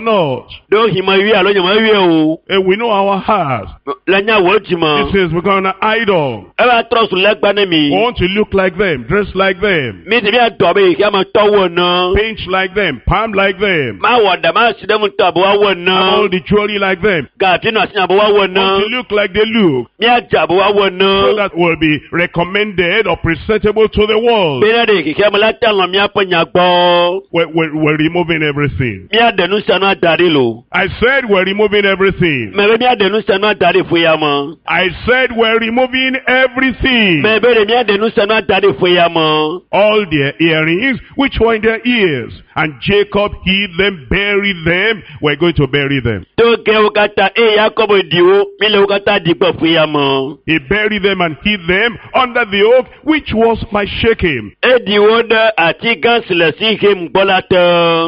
not, Ɖewohĩ meyɔe alo nye meyɔe o. eh, we know our hearts. Le nya wò dzime. This has become an idol. Eva trɔ zu legba ne We mi. want to look like them, dress like them, Mi di míadɔ abe xexeame tɔwo ene. paint like them, palm like them, Mawɔ ɖe masi ɖe ŋutɔ abe woawo have all ene. the jewelry like them. Gavi nɔ asi nya be woawɔ Want to ne. look like they look. Míadze abe woawɔ So ne. that will be recommended or presentable to the world. Bena ɖe xexea me la te alɔ míaƒe nya gbɔ. We're, we're, we're removing everything. Míaɖe nu sia nu ada ɖi lo. I said we're removing everything. Mɛ be míaɖe nu sia nu ada ɖi ƒe ya me. I said we're removing everything. Mɛ be ɖe míaɖe nu sia nu ada ɖi ƒe ya me. All their earrings, which were in their ears. And Jacob hid them, buried them. We're going to bury them. To gewo katã eye Yakobo ɖi wo, míle wo katã ɖi gbɔ ƒe ya me. He buried them and hid them under the oak, which was by Shechem. Eɖi wo ɖe ati gã si le Sihem gbɔ la te.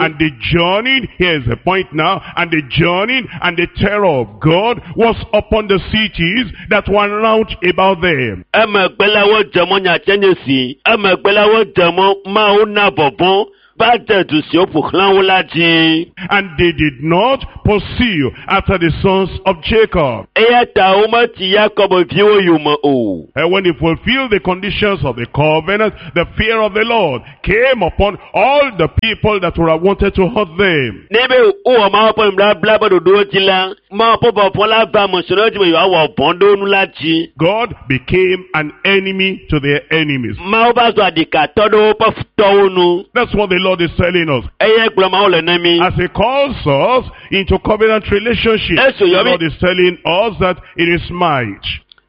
And the journey, here's the point now, and the journey and the terror of God was upon the cities that were round about them. Emegbe la wodze mɔ nyatse nye si. Emegbe la wodze mɔ Mawu na vɔvɔ̃ va de du siwo ƒo xlã wo la dzi. And they did not pursue after the sons of Jacob. Eya ta wometi Yakob viwo yome o. And when they fulfilled the conditions of the covenant, the fear of the Lord came upon all the people that would have wanted to hurt them. Ne be wowɔ Mawu ƒe nubabla ƒe ɖoɖowo dzi la, Mawu ƒe vɔvɔ̃ la va ame siwo dzi be yewoawɔ vɔ̃ ɖe wo ŋu la dzi. God became an enemy to their enemies. Mawu va zu aɖikatɔ ɖe woƒe futɔwo nu. That's what the Lord is telling us. Eye gblɔ Mawu le na mí. As he calls us into covenant relationship, Yes, the so Lord is telling us that in his might,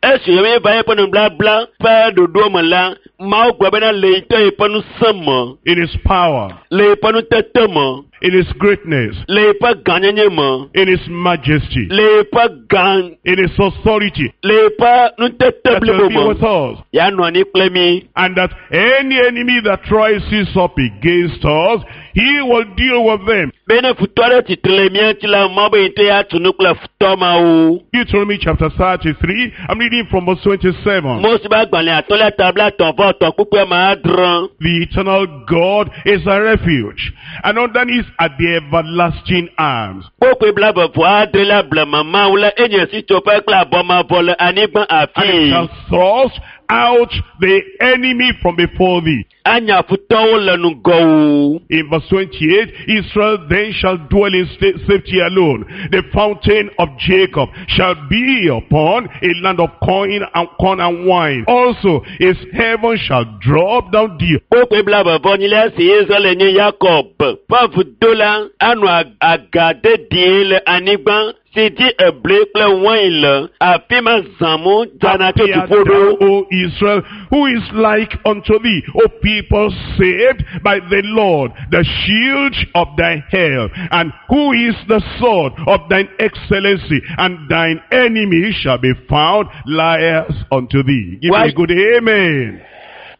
Esi yɔ va eƒe nubabla ƒe ɖoɖo me la, Mawu gblɔ bena le ŋutɔ yeƒe ŋusẽ me, in his power, le yeƒe nutete me, in his greatness, le yeƒe gãnyenye me, in his majesty, le yeƒe gã, in his authority, le yeƒe nutete that will blibo be me. with us. Yeanɔ anyi kple mí. And that any enemy that rises up against us, he will deal with them. Be ne futɔ aɖe tsitre le mía ŋuti la, Mawu be ŋutɔ ya tu nu kple futɔ mawo. Deuteronomy chapter thirty-three, I'm reading from verse twenty-seven. Mose ƒe agbalẽ atɔ̃lia ta blaetɔ̃ vɔ etɔ̃ kpukpui ame adre. The eternal God is a refuge, and underneath are the everlasting arms. Kpukpui blaeve vɔ adre la blema Mawu la enye sitsoƒe kple abɔmavɔ le anyigba And it afii. shall thrust out the enemy from before thee. Anya futɔwo le ŋgɔwò. In verse twenty-eight, Israel then shall dwell in sta- safety alone. The fountain of Jacob shall be upon a land of corn and corn and wine. Also, his heaven shall drop down dew. Kpukpui blaeve vɔ enyilia si Israel nye Yakob ƒe vudo la anɔ ag- aga dedie le anyigba si dzi ebli kple wain le. Afi ma zãmu dzana tso Happy art dziƒo thou, ɖo. O Israel, who is like unto thee, O people saved by the Lord, the shield of thy help, and who is the sword of thine excellency, and thine enemies shall be found liars unto thee. Give me Why- a good amen.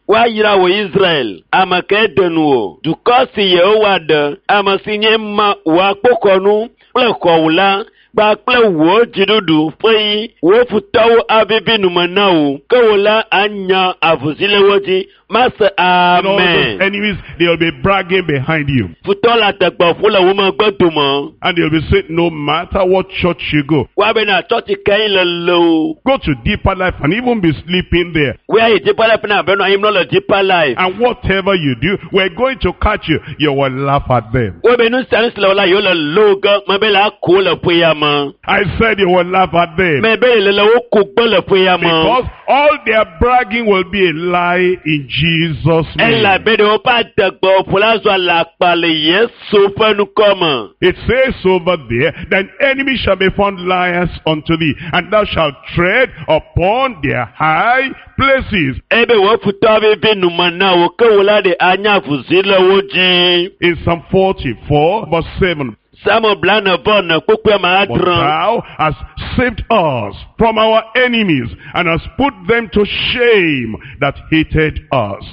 Woayra wò Israel, ame ke de nu o. Dukɔ si Yehowa ɖe, ame si nye ma wò akpoxɔnu kple xɔwò la, kpakple wò dziɖuɖu ƒe yi, wò futɔwo avivi nume na wò. Ke wò la anya avuzi le wo dzi. Mase And all those amen. enemies, they'll be bragging behind you. Futɔ le ategbe ƒu le wo megbe dome. And they'll be saying, no matter what church you go, Woabena tsɔtsi ke yi le le o. go to Deeper Life and even be sleeping there. Woayi Deeper Life na abe nɔ anyi mlɔ le Deeper Life. And whatever you do, we're going to catch you. You will laugh at them. Wobe nu sia nu si le wo la yewo le lo ge mebe le ako le ƒe ya me. I said you will laugh at them. Mebe le le wo ko gbe le ƒe ya me. Because all their bragging will be a lie in Jesus' name. Elabe ɖe woƒe adegbe ƒo la zɔ alakpa le Yesu ƒe ŋkɔ me. It says over there, thine enemy shall be found liars unto thee, and thou shalt tread upon their high places. Ebe wò futɔ vivi nume na wò ke wò la ɖe anya avuzi le wo dzi. In Psalm forty-four, verse seven, Psalm blaene vɔ ene kpukpui ame But adre. thou hast saved us from our enemies, and hast put them to shame that hated us.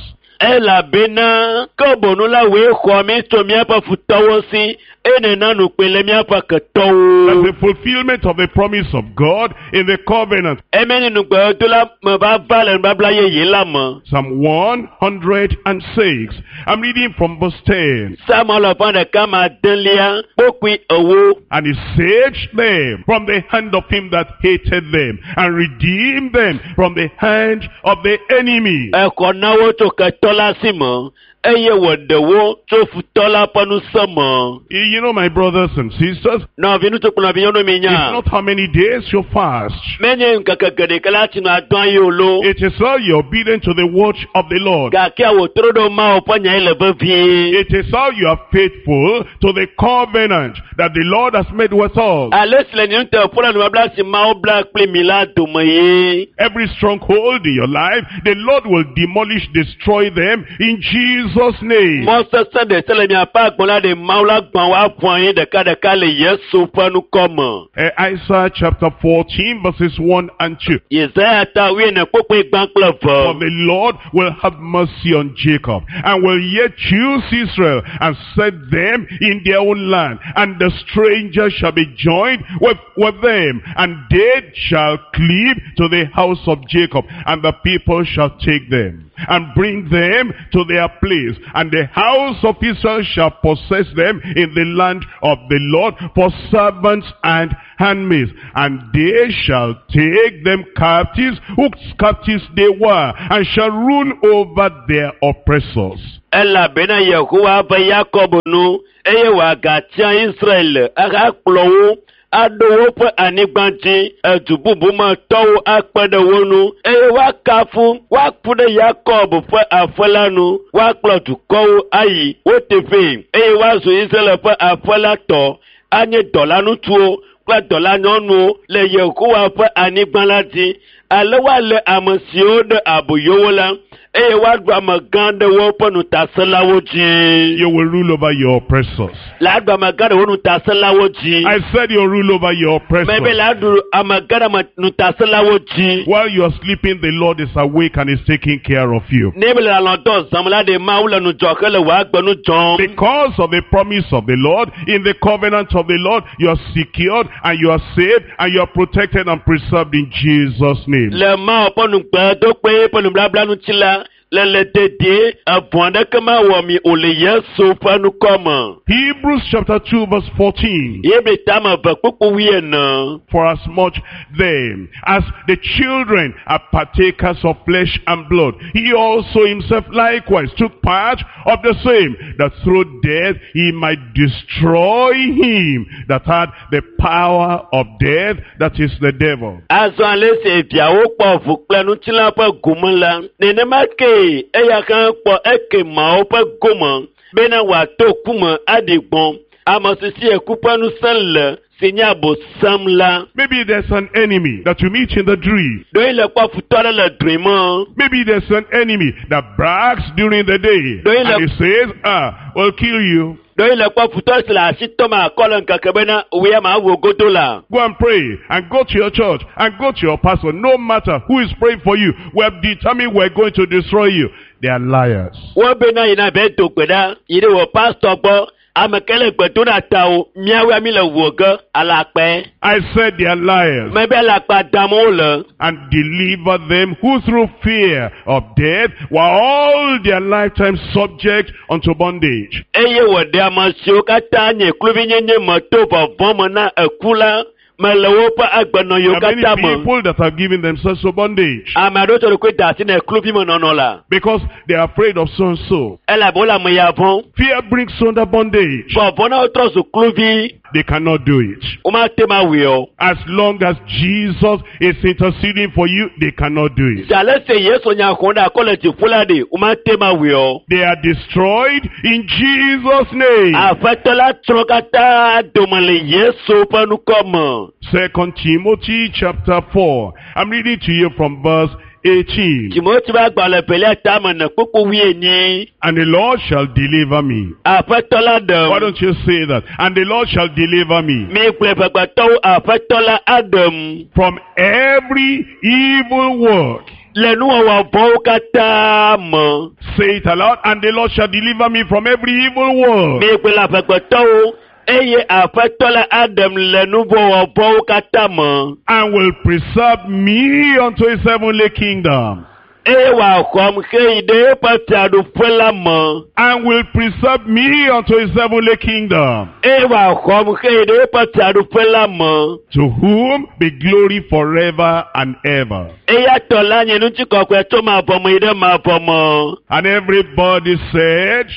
Elabena ke bonu la wòe xɔ mí tso míaƒe futɔwo si eye nèna nukpe le míaƒe That's ketɔwo. the fulfillment of the promise of God in the covenant. Eme nye nugbedodo la me va va le nubabla yeye la me. Psalm one hundred and six. I'm reading from verse ten. Psalm alafa ɖeka ma adelia kpukpui ewo. And he saved them from the hand of him that hated them, and redeemed them from the hand of the enemy. Exɔ na wo tso ketɔ la si me eye wòɖe wo tso futɔ la ƒe ŋusẽ me. You know, my brothers and sisters, Nɔvi ŋutsu kple nɔvi nyɔnu mi it's nya. not how many days you fast. Menye ŋkeke geɖe ke la tsi nɔ adɔa yi o lo. It is how you're obedient to the word of the Lord. Gake wòtrɔ ɖo Mawu ƒe nya yi le vevie. It is how you are faithful to the covenant that the Lord has made with us. Ale si le nye ŋutɔ ƒe le nubabla si Mawu bla kpli mi la dome ye. Every stronghold in your life, the Lord will demolish, destroy them in Jesus' name. Mɔ sesẽ ɖe se le miaƒe agbe la ɖe Mawu la gbã woaƒu anyi ɖekaɖeka le Yesu ƒe ŋkɔ me. Uh, Isaiah chapter fourteen, verses one and two. Yesaya ta wuiene kpukpui gbã kple For ve. the Lord will have mercy on Jacob, and will yet choose Israel, and set them in their own land. And the stranger shall be joined with, with them, and they shall cleave to the house of Jacob, and the people shall take them, and bring them to their place. And the house of Israel shall possess them in the land of the Lord for servants and handmaids. And they shall take them captives, whose captives they were, and shall rule over their oppressors. Elabena Yehowa be Yakob nu eye wòagatia Israel ahakplɔ wo aɖo woƒe anyigba dzi. Edu bubu me tɔwo akpe ɖe wo ŋu eye woakafu woaku ɖe Yakob ƒe aƒe la nu. Woakplɔ dukɔwo ayi wo teƒee eye woazu Israel ƒe aƒe la tɔ anye dɔlaŋutsuwo kple dɔlanyɔnuwo le Yehowa ƒe anyigba la dzi. Ale woalé ame siwo ɖe aboyo wo la eye woaɖu amegã ɖe woƒe nutasẽlawo dzi. You will rule over your oppressors. Le aɖu amegã ɖe wo nutasẽlawo dzi. I said you rule over your Mebe oppressors. le aɖu amegã ɖe ame nutasẽlawo dzi. While you are sleeping, the Lord is awake and is taking care of you. Ne be le alɔ̃ dɔ zãm la ɖe Mawu le ŋudzɔ hele wò agbe nu dzɔm. Because of the promise of the Lord, in the covenant of the Lord, you are secured and you are saved and you are protected and preserved in Jesus' name. Le Mawu ƒe nugbedoƒe ƒe nublabla ŋuti la, le le dedie, evɔ̃ aɖeke mawɔ mi o le Yesu ƒe ŋkɔ me. Hebrews chapter two verse fourteen. Hebri tame eve kpukpu wuiene. For as much then as the children are partakers of flesh and blood, he also himself likewise took part of the same, that through death he might destroy him that had the power of death, that is the devil. Azɔ ale si viawo kpɔ ʋu kple ŋutilã ƒe gome la, nenema ke eya hã kpɔ ekemawo ƒe gome bena wòato ku me aɖi gbɔ̃. Ame si si eku ƒe ŋusẽ le si nye abosam la. Maybe there's an enemy that you meet in the dream. Ɖewohĩ le kpɔ futɔ aɖe le drɔ̃e me. Maybe there's an enemy that brags during the day. Do you And he says, ah, we'll kill you. Ɖewohĩ le kpɔ futɔ si le asi tɔm akɔ le ŋkeke bena wòya ma wò godo la. Go and pray and go to your church and go to your pastor. No matter who is praying for you, we have determined we're going to destroy you. They are liars. Wo bena yina be do gbe ɖa yi ɖe wò pastɔ gbɔ. Ame ke le gbe dom ɖa ta o, míawoe mi le wò ge alakpɛ. I said they are liars. Mebe alakpa dam wole. And deliver them who through fear of death were all their lifetime subject unto bondage. Eye wòɖe ame siwo katã nye kluvinyenye me to vɔvɔ̃ me na eku la me le woƒe agbenɔɣiwo There are many katã me. people that have given themselves to bondage Ame aɖewo tsɔ ɖokui de asi na kluvimenɔnɔ la because they are afraid of so and so. elabe wole ame ya vɔ̃m. Fear brings under bondage. Vɔvɔ̃ na wotrɔ zu kluvi, They cannot do it. womate ŋu awɔe o. As long as Jesus is interceding for you, they cannot do it. Zi ale si Yesu nya xɔm ɖe akɔ le dziƒo la ɖi, womate ŋu awɔe o. They are destroyed in Jesus' name. Aƒetɔ la tsrɔ̃ katã dome le Yesu ƒe ŋkɔ me. Second Timothy chapter four. I'm reading to you from verse eighteen. Timoteo ƒe agbalẽ evelia tame ne kpukpu wuienyi. And the Lord shall deliver me. Aƒetɔ la ɖem. Why don't you say that? And the Lord shall deliver me Mi gblɔe ʋegbetɔwo, aƒetɔ la aɖem. from every evil work. Le nuwɔwɔ vɔ̃wo katã me. Say it aloud. And the Lord shall deliver me from every evil work. Mi gblɔe le aƒegbetɔwo, eye aƒetɔ la aɖem le nuwɔwɔ vɔ̃wo katã me. And will preserve me unto his heavenly kingdom. Eye wòaxɔm heyi ɖe eƒe fiaɖuƒe la me. And will preserve me unto his heavenly kingdom. Eye wòaxɔm heyi ɖe eƒe fiaɖuƒe la me. To whom be glory forever and ever. Eya tɔ la nye ŋutikɔkɔe tso mavɔ me yi ɖe mavɔ me. And everybody said,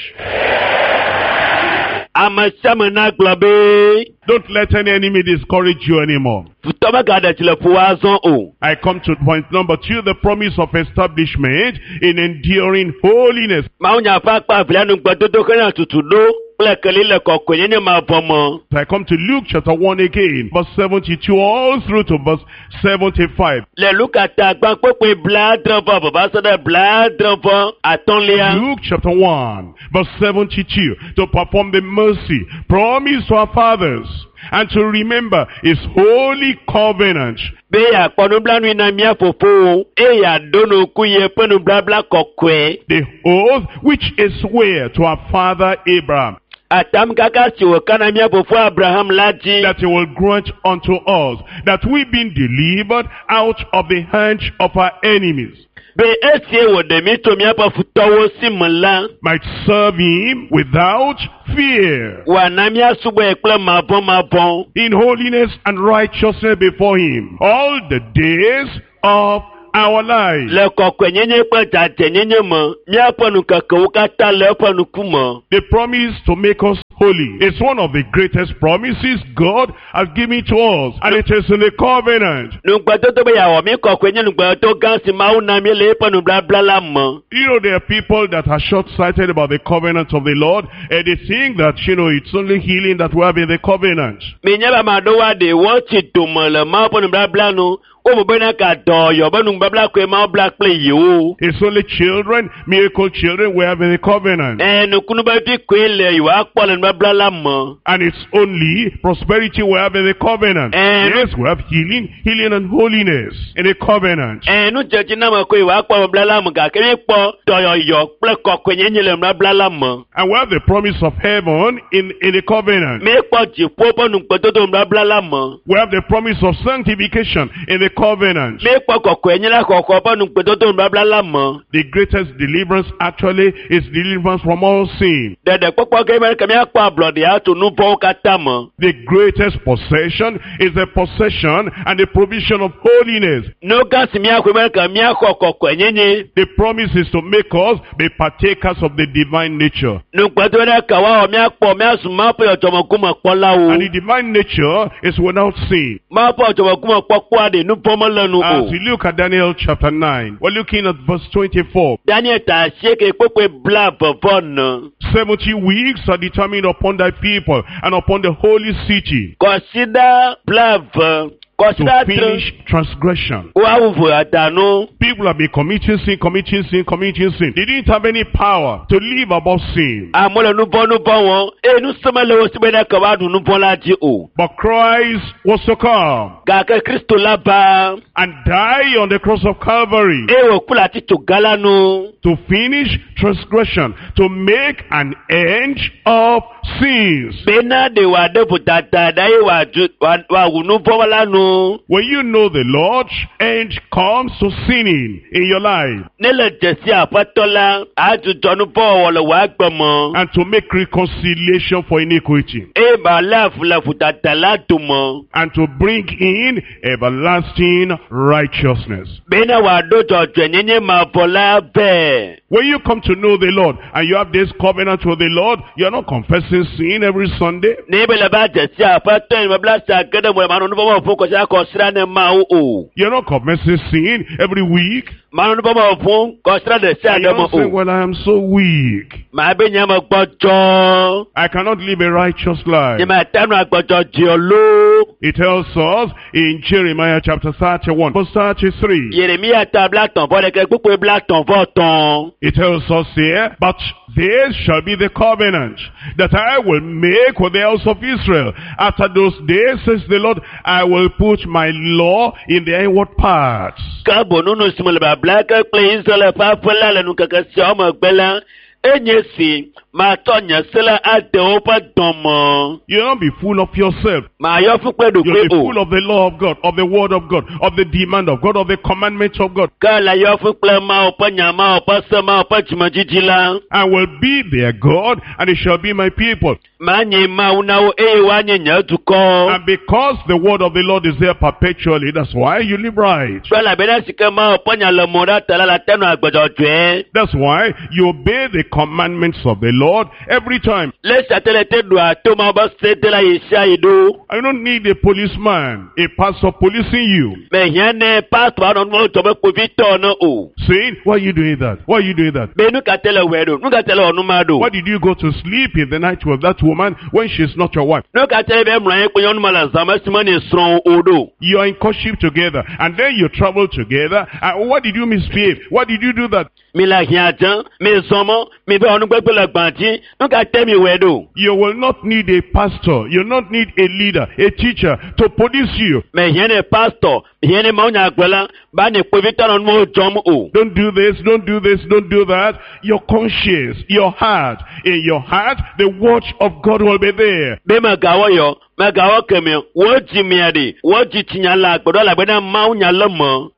Ame sia ame nagblɔ be, don't let any enemy discourage you anymore. futɔ megaɖe dzi le ƒo azɔ o. I come to point number two, the promise of establishment in enduring holiness. Mawunya ƒe akpa evelia nugbedodo hena tutu ɖo kple keli le kɔkɔenyenye mavɔ me. I come to Luke chapter one again, verse seventy-two all through to verse seventy-five. Le Luka ta gbã kpukpui blaadre vɔ eve va se ɖe blaadre vɔ atɔ̃lia. Luke chapter one, verse seventy-two, to perform the mercy promised to our fathers and to remember his holy covenant. Be yeakpɔ nublanui na mía fofowo eye yeaɖo ŋku yeƒe nubabla kɔkɔe. The oath which is swear to our father Abraham, Atam kaka si wòka na mía fofo Abraham la dzi. that he will grant unto us, that we being delivered out of the hand of our enemies, Be esie wòɖe mí tso míaƒe futɔwo si me la, might serve him without fear, wòana míasubɔe kple mavɔmavɔ. in holiness and righteousness before him, all the days of our life. Le kɔkɔenyenye kple dzadzɛnyenye me, míaƒe nukekewo katã le eƒe ŋkume. The promise to make us holy is one of the greatest promises God has given to us, and it is in the covenant. Nugbedodo be yeawɔ mí kɔkɔe nye nugbedodo gã si Mawu na mí le eƒe nubabla la me. You know, there are people that are short-sighted about the covenant of the Lord, and they think that, you know, it's only healing that we have in the covenant. Minya be ame aɖewo aɖe wotsi dome le Mawu ƒe nubabla nu. Wobu bena ka dɔyɔ be nubabla koe Mawu bla kple yewo. It's only children, miracle children we have in the covenant. Ɛ nukunu be vi koe le yewoakpɔ le nubabla la me. And it's only prosperity we have in the covenant. And- Yes, we have healing, healing and holiness in the covenant. Ɛ nudzedziname koe yewoakpɔ le nubabla la me gake míekpɔ dɔyɔyɔ kple kɔkɔenyenye le nubabla la me. And we have the promise of heaven in, in the covenant. Míekpɔ dziƒo ƒe nugbedodo nubabla la me. We have the promise of sanctification in the covenant. Míekpɔ kɔkɔenye la xɔxɔ ƒe nugbedodo nubabla la me. The greatest deliverance actually is deliverance from all sin. Ɖeɖekpɔkpɔ ke be ke míakpɔ ablɔɖe atso nu vɔ̃wo katã me. The greatest possession is the possession and the provision of holiness. Nu gã si míaxɔe be ke míaxɔ kɔkɔenyenye. The promise is to make us be partakers of the divine nature. Nugbedodo ɖe ke woawɔ míakpɔ míazu Mawu ƒe dzɔdzɔmeŋkumekpɔlawo. And the divine nature is without sin. Mawu ƒe dzɔdzɔmeŋkumekpɔkpɔa ɖe nu vɔ̃ mele nu As o. we look at Daniel chapter nine, we're looking at verse twenty-four. Daniel ta asieke kpukpui blaeve vɔ ene. Seventy weeks are determined upon thy people and upon the holy city Kɔsiɖa blaeve, to kɔsiɖa adre, finish transgression. woawu vodada People have been committing sin, committing sin, committing sin. They didn't have any power to live above sin. Amewo le nu vɔ̃ nu vɔ̃ wɔm eye ŋusẽ mele wo si be ne ke woaɖu nu vɔ̃ la dzi o. But Christ was to come Gake Kristo la va and die on the cross of Calvary eye wòku le atitsoga la nu to finish transgression, to make an end of sins. bena ɖe wòaɖe vodada ɖa eye wòadzu wòa- wòawu nu vɔ̃ la nu. When you know the Lord, end comes to sinning in your life Ne le dzesi aƒetɔ la, adzudzɔ nu vɔ̃ wɔwɔ le wò agbe me and to make reconciliation for iniquity eye màlé avu le vodada la dome and to bring in everlasting righteousness. bena wòaɖo dzɔdzɔenyenye mavɔ la vɛ. When you come to know the Lord and you have this covenant with the Lord, you are not confessing sin every Sunday. Ne be le va dzesi aƒetɔ yi mebla sia ge ɖe mo le manɔ nu vɔ̃ wɔm fũ kɔsiɖa kɔsiɖa ne Mawu o. You're not confessing sin every week. Manɔ nu vɔ̃ wɔm fũ kɔsiɖa ɖe sia And ɖe you're me not saying, o. well, I am so weak. Maa be nye me gbɔdzɔ. I cannot live a righteous life. Nye mate ŋu agbɔdzɔdzɔ loo. It tells us in Jeremiah chapter thirty-one, verse thirty-three. Yeremia ta blatɔ̃ vɔ ɖeke kpukpui blatɔ̃ vɔ tɔ̃. It tells us here, but this shall be the covenant that I will make with the house of Israel. After those days, says the Lord, I will put my law in their inward parts. Ke boŋ nu si me le babla ke kple Israel ƒe aƒe la le nukeke siawo megbe la, enye si Matsɔ nye se la ade woƒe dɔme. You will not be full of yourself. Mayɔ fu kple You'll ɖokui be o. full of the law of God, of the word of God, of the demand of God, of the commandments of God. Ke le yɔ fu kple Mawu ƒe nya, Mawu ƒe se, Mawu ƒe dzimedzidzi la. I will be their God, and they shall be my people. Manye Mawu na wo eye woanye nye dukɔ. And because the word of the Lord is there perpetually, that's why you live right. Kple elabena si ke Mawu ƒe nya le mo ɖa ta la, la te nɔ agbedzɔdzɔe. That's why you obey the commandments of the Lord every time. Le esia te le te ɖua to Mawu ƒe se de la ɣe sia ɣi ɖo. I don't need a policeman, a pastor policing you, Mehiã ne pastor anɔ nuwo dzɔ be kpovitɔ ne o. saying, why are you doing that? Why are you doing that? Be nu ka te le wɔe ɖo? Nu ka te le wɔ nu ma ɖo? Why did you go to sleep in the night with that woman when she's not your wife? Nu ka te be mlɔ anyi kple nyɔnu ma le zã me esime ne srɔ̃ o ɖo? You are in courtship together, and then you travel together. And why did you misbehave? Why did you do that? Mi le hiã dze, mi zɔ mɔ, mi be wɔ nugbegbe le gbã dzi. Nu ka te mi wɔe ɖo? You will not need a pastor. You will not need a leader, a teacher to police you. Mehiã ne pastor, mehiã ne mawunyagblɔla, ba ne kpovitɔ nɔ nuwo dzɔm o. Don't do this, don't do this, don't do that. Your conscience, your heart, in your heart, the watch of God will be there. Be megawɔ yɔ, megawɔ kemɛ, wo dzimea ɖi, wo dzitsinya le agbe ɖo elabena Mawunya le me.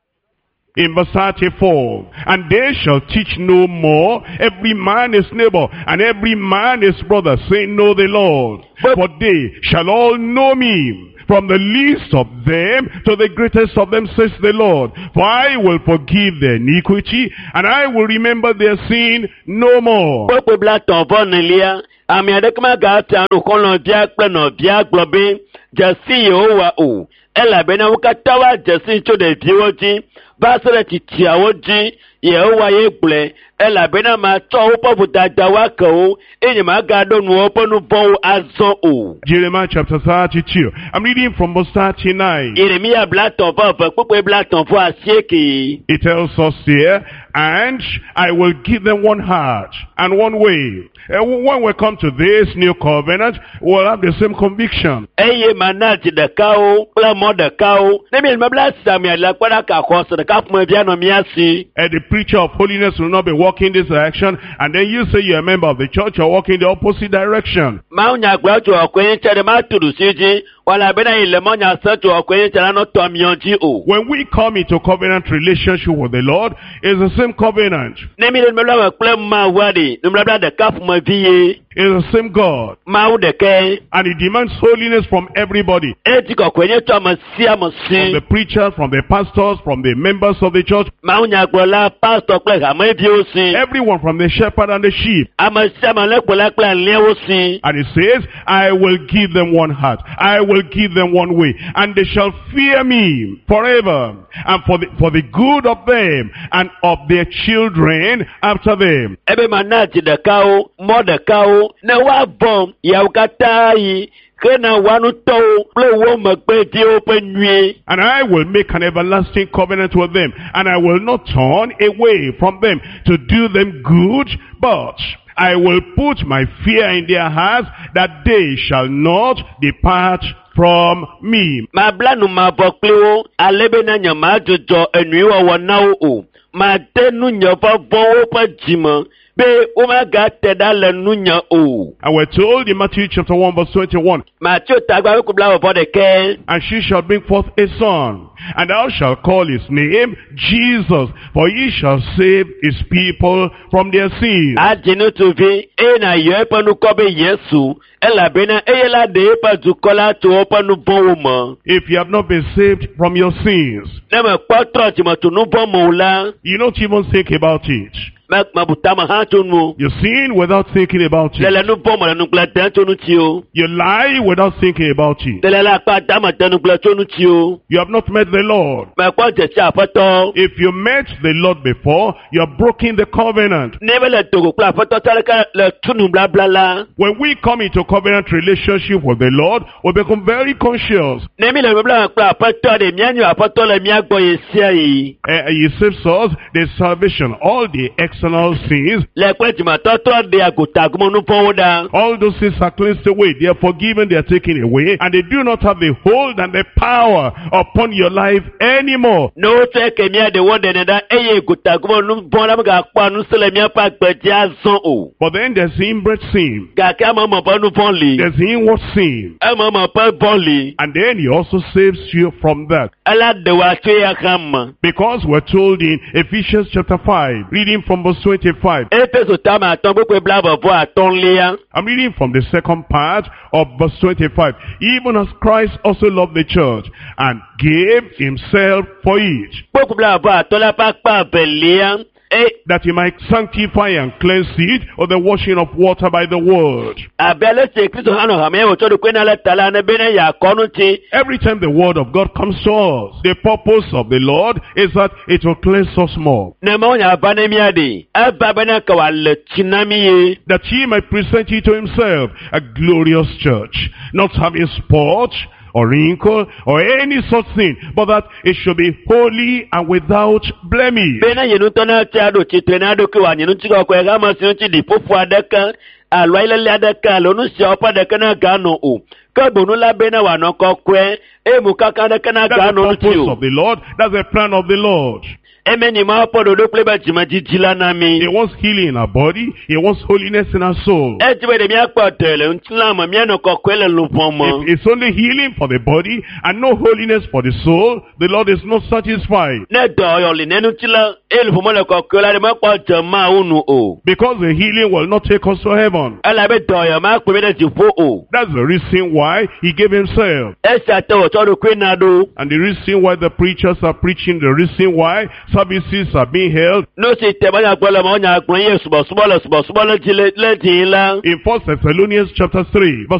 In verse thirty-four, and they shall teach no more every man his neighbor and every man his brother, saying, Know the Lord. For they shall all know me, from the least of them to the greatest of them, says the Lord. For I will forgive their iniquity, and I will remember their sin no more. Kpekpe blatɔ̃ vɔ nelia, ame aɖeke magatia nu xɔlɔ̃via kple nɔvia gblɔ be dzesi Yehowa o, elabena wo katã woadze si tso ɖeviwo dzi va se ɖe tsitsiawo dzi. Yehowa ye gblɔe, elabena matsɔ woƒe vodadawo ake wo eye nyemagaɖo nu woƒe nu vɔ̃wo azɔ o. Jeremiah chapter thirty-two. I'm reading from verse thirty-nine. Yeremia blatɔ̃ vɔ eve kpekpe blatɔ̃ vɔ asieke. It tells us here, and I will give them one heart and one way. And when we come to this new covenant, we'll have the same conviction. Eye mana dzi ɖekawo kple mɔ ɖekawo. Ne mi nubabla sia mia le kpe ɖe xɔse ɖeka ƒomevi anɔ mía si. And the preacher of holiness will not be walking this direction, and then you say you're a member of the church, you're walking the opposite direction. Mawunyagblɔ tso ɔkɔe nye tse ɖe matu ɖusi dzi, elabena yi le mɔnya se tso ɔkɔe nye tse la nɔ tɔ miɔ dzi o. When we come into covenant relationship with the Lord, it's the same covenant. Ne mi le nubabla me kple Mawua ɖi, nubabla ɖeka ƒomevi ye. It's the same God. Mawu ɖekae. And he demands holiness from everybody. Edi kɔkɔe nye tso ame sia ame From si. the preachers, from the pastors, from the members of the church. Mawunyagblɔla, pastor kple hameviwo si. Everyone, from the shepherd and the sheep. Ame sia ame le kplɔla kple alẽwo si. And he says, I will give them one heart. I will give them one way. And they shall fear me forever. And for the, for the good of them and of their children after them. Ebe mana dzi ɖekawo, mɔ ɖekawo, ne woavɔ̃ yawo katã yi, hena woa ŋutɔwo kple wo megbeviwo ƒe nyuie. And I will make an everlasting covenant with them, and I will not turn away from them to do them good, but I will put my fear in their hearts, that they shall not depart from me. Mabla nu mavɔ kpli wo, ale bena nye madzudzɔ enyuiwɔwɔ na wo o. Made nu nye vɔvɔ̃wo ƒe dzime be womagate ɖa le nunye o. And we're told in Matthew chapter one verse twenty-one, Mateo tagba ƒe kubla vɔ ɖekɛ. And she shall bring forth a son, and thou shalt call his name Jesus, for he shall save his people from their sins. Adzi ŋutsuvi eye nàyɔ eƒe ŋkɔ be Yesu, elabena eye la ɖe eƒe dukɔ la tso woƒe nu vɔ̃wo me. If you have not been saved from your sins, Ne mekpɔ trɔ dzime tso nu vɔ̃ me o la, you don't even think about it. me mebu tame hã tso nu o. You sin without thinking about Le le it. nu vɔ̃ me le nugblẽ dem tso ŋuti o. You lie without thinking about it. Le le le akpa dame de nugblẽ tso ŋuti o. You have not met the Lord. Mekpɔ dzesi aƒetɔ. If you met the Lord before, you have broken the covenant. Ne be le dogo kple aƒetɔ tsa ɖeka le tu nublabla la, When we come into covenant relationship with the Lord, we become very conscious. ne mi le nubabla me kple aƒetɔ ɖe mía nyo aƒetɔ le mía gbɔ ɣe sia ɣi. Uh, he saves us the salvation, all the external sins. Le kple dzimetɔtrɔ ɖea gotagome nuvɔ̃wo ɖa. All those sins are cleansed away. They are forgiven, they are taken away, and they do not have the hold and the power upon your life anymore. Ne wotsɔe ke mía ɖe woɖenɛ ɖa eye gotagome nuvɔ̃ la megakpɔa ŋusẽ le míaƒe agbe dzi azɔ o. But then there's inbred sin. Gake ememe ƒe nuvɔ̃ li. There's inward sin. Ememe ƒe vɔ̃ li. And then he also saves you from that. Ela ɖe wò atso eya hã me. Because we're told in Ephesians chapter five, reading from verse twenty-five. Efeso tame atɔ̃ kpukpui blaeve vɔ atɔ̃lia. I'm reading from the second part of verse twenty-five. Even as Christ also loved the church and gave himself for it, Kpukpui blaeve vɔ atɔ̃lia ƒe akpa evelia. E that he might sanctify and cleanse it of the washing of water by the word. Abe ale si Kristo hã nɔ hame wòtsɔ ɖokui na le ta la ene bena yeakɔ ŋuti. Every time the word of God comes to us, the purpose of the Lord is that it will cleanse us more. Ne Mawu nya va ne mía ɖi, eva bena ke wòale tsi na mí ye. That he might present it to himself, a glorious church, not having spot or wrinkle or any such thing, but that it should be holy and without blemish. Bena ye ŋutɔ na tse aɖo tsitre na eɖokui wòanyi ŋutikɔkɔe hame si ŋuti ɖiƒoƒo aɖeke alo ayilele aɖeke alo nu siawo ƒe aɖeke naganɔ o. Ke boŋ la bena wòanɔ kɔkɔe eye mokaka aɖeke That's the naganɔ ŋuti purpose o. of the Lord. That's the plan of the Lord. Eme ni Mawu ƒe ɖoɖo kple eƒe dzimedidi la na mí. He wants healing in our body. He wants holiness in our soul. Edi be ɖe míakpɔ dɔ le ŋutilã me, míanɔ kɔkɔe le luʋɔ me. If it's only healing for the body and no holiness for the soul, the Lord is not satisfied. Ne dɔyɔ li ne ŋutilã eye luʋɔ mele kɔkɔe la, ɖe mekpɔ dze Mawu nu o. Because the healing will not take us to heaven. Elabe dɔyɔ makplɔ mí ɖe dziƒo o. That's the reason why he gave himself. Esia te wòtsɔ ɖokui na ɖo. And the reason why the preachers are preaching, the reason why services are being held. Nu si te manyagblɔ le mawunyagblɔ ye subɔsubɔ le subɔsubɔ le dzi le le dzi la. In First Thessalonians chapter three, verse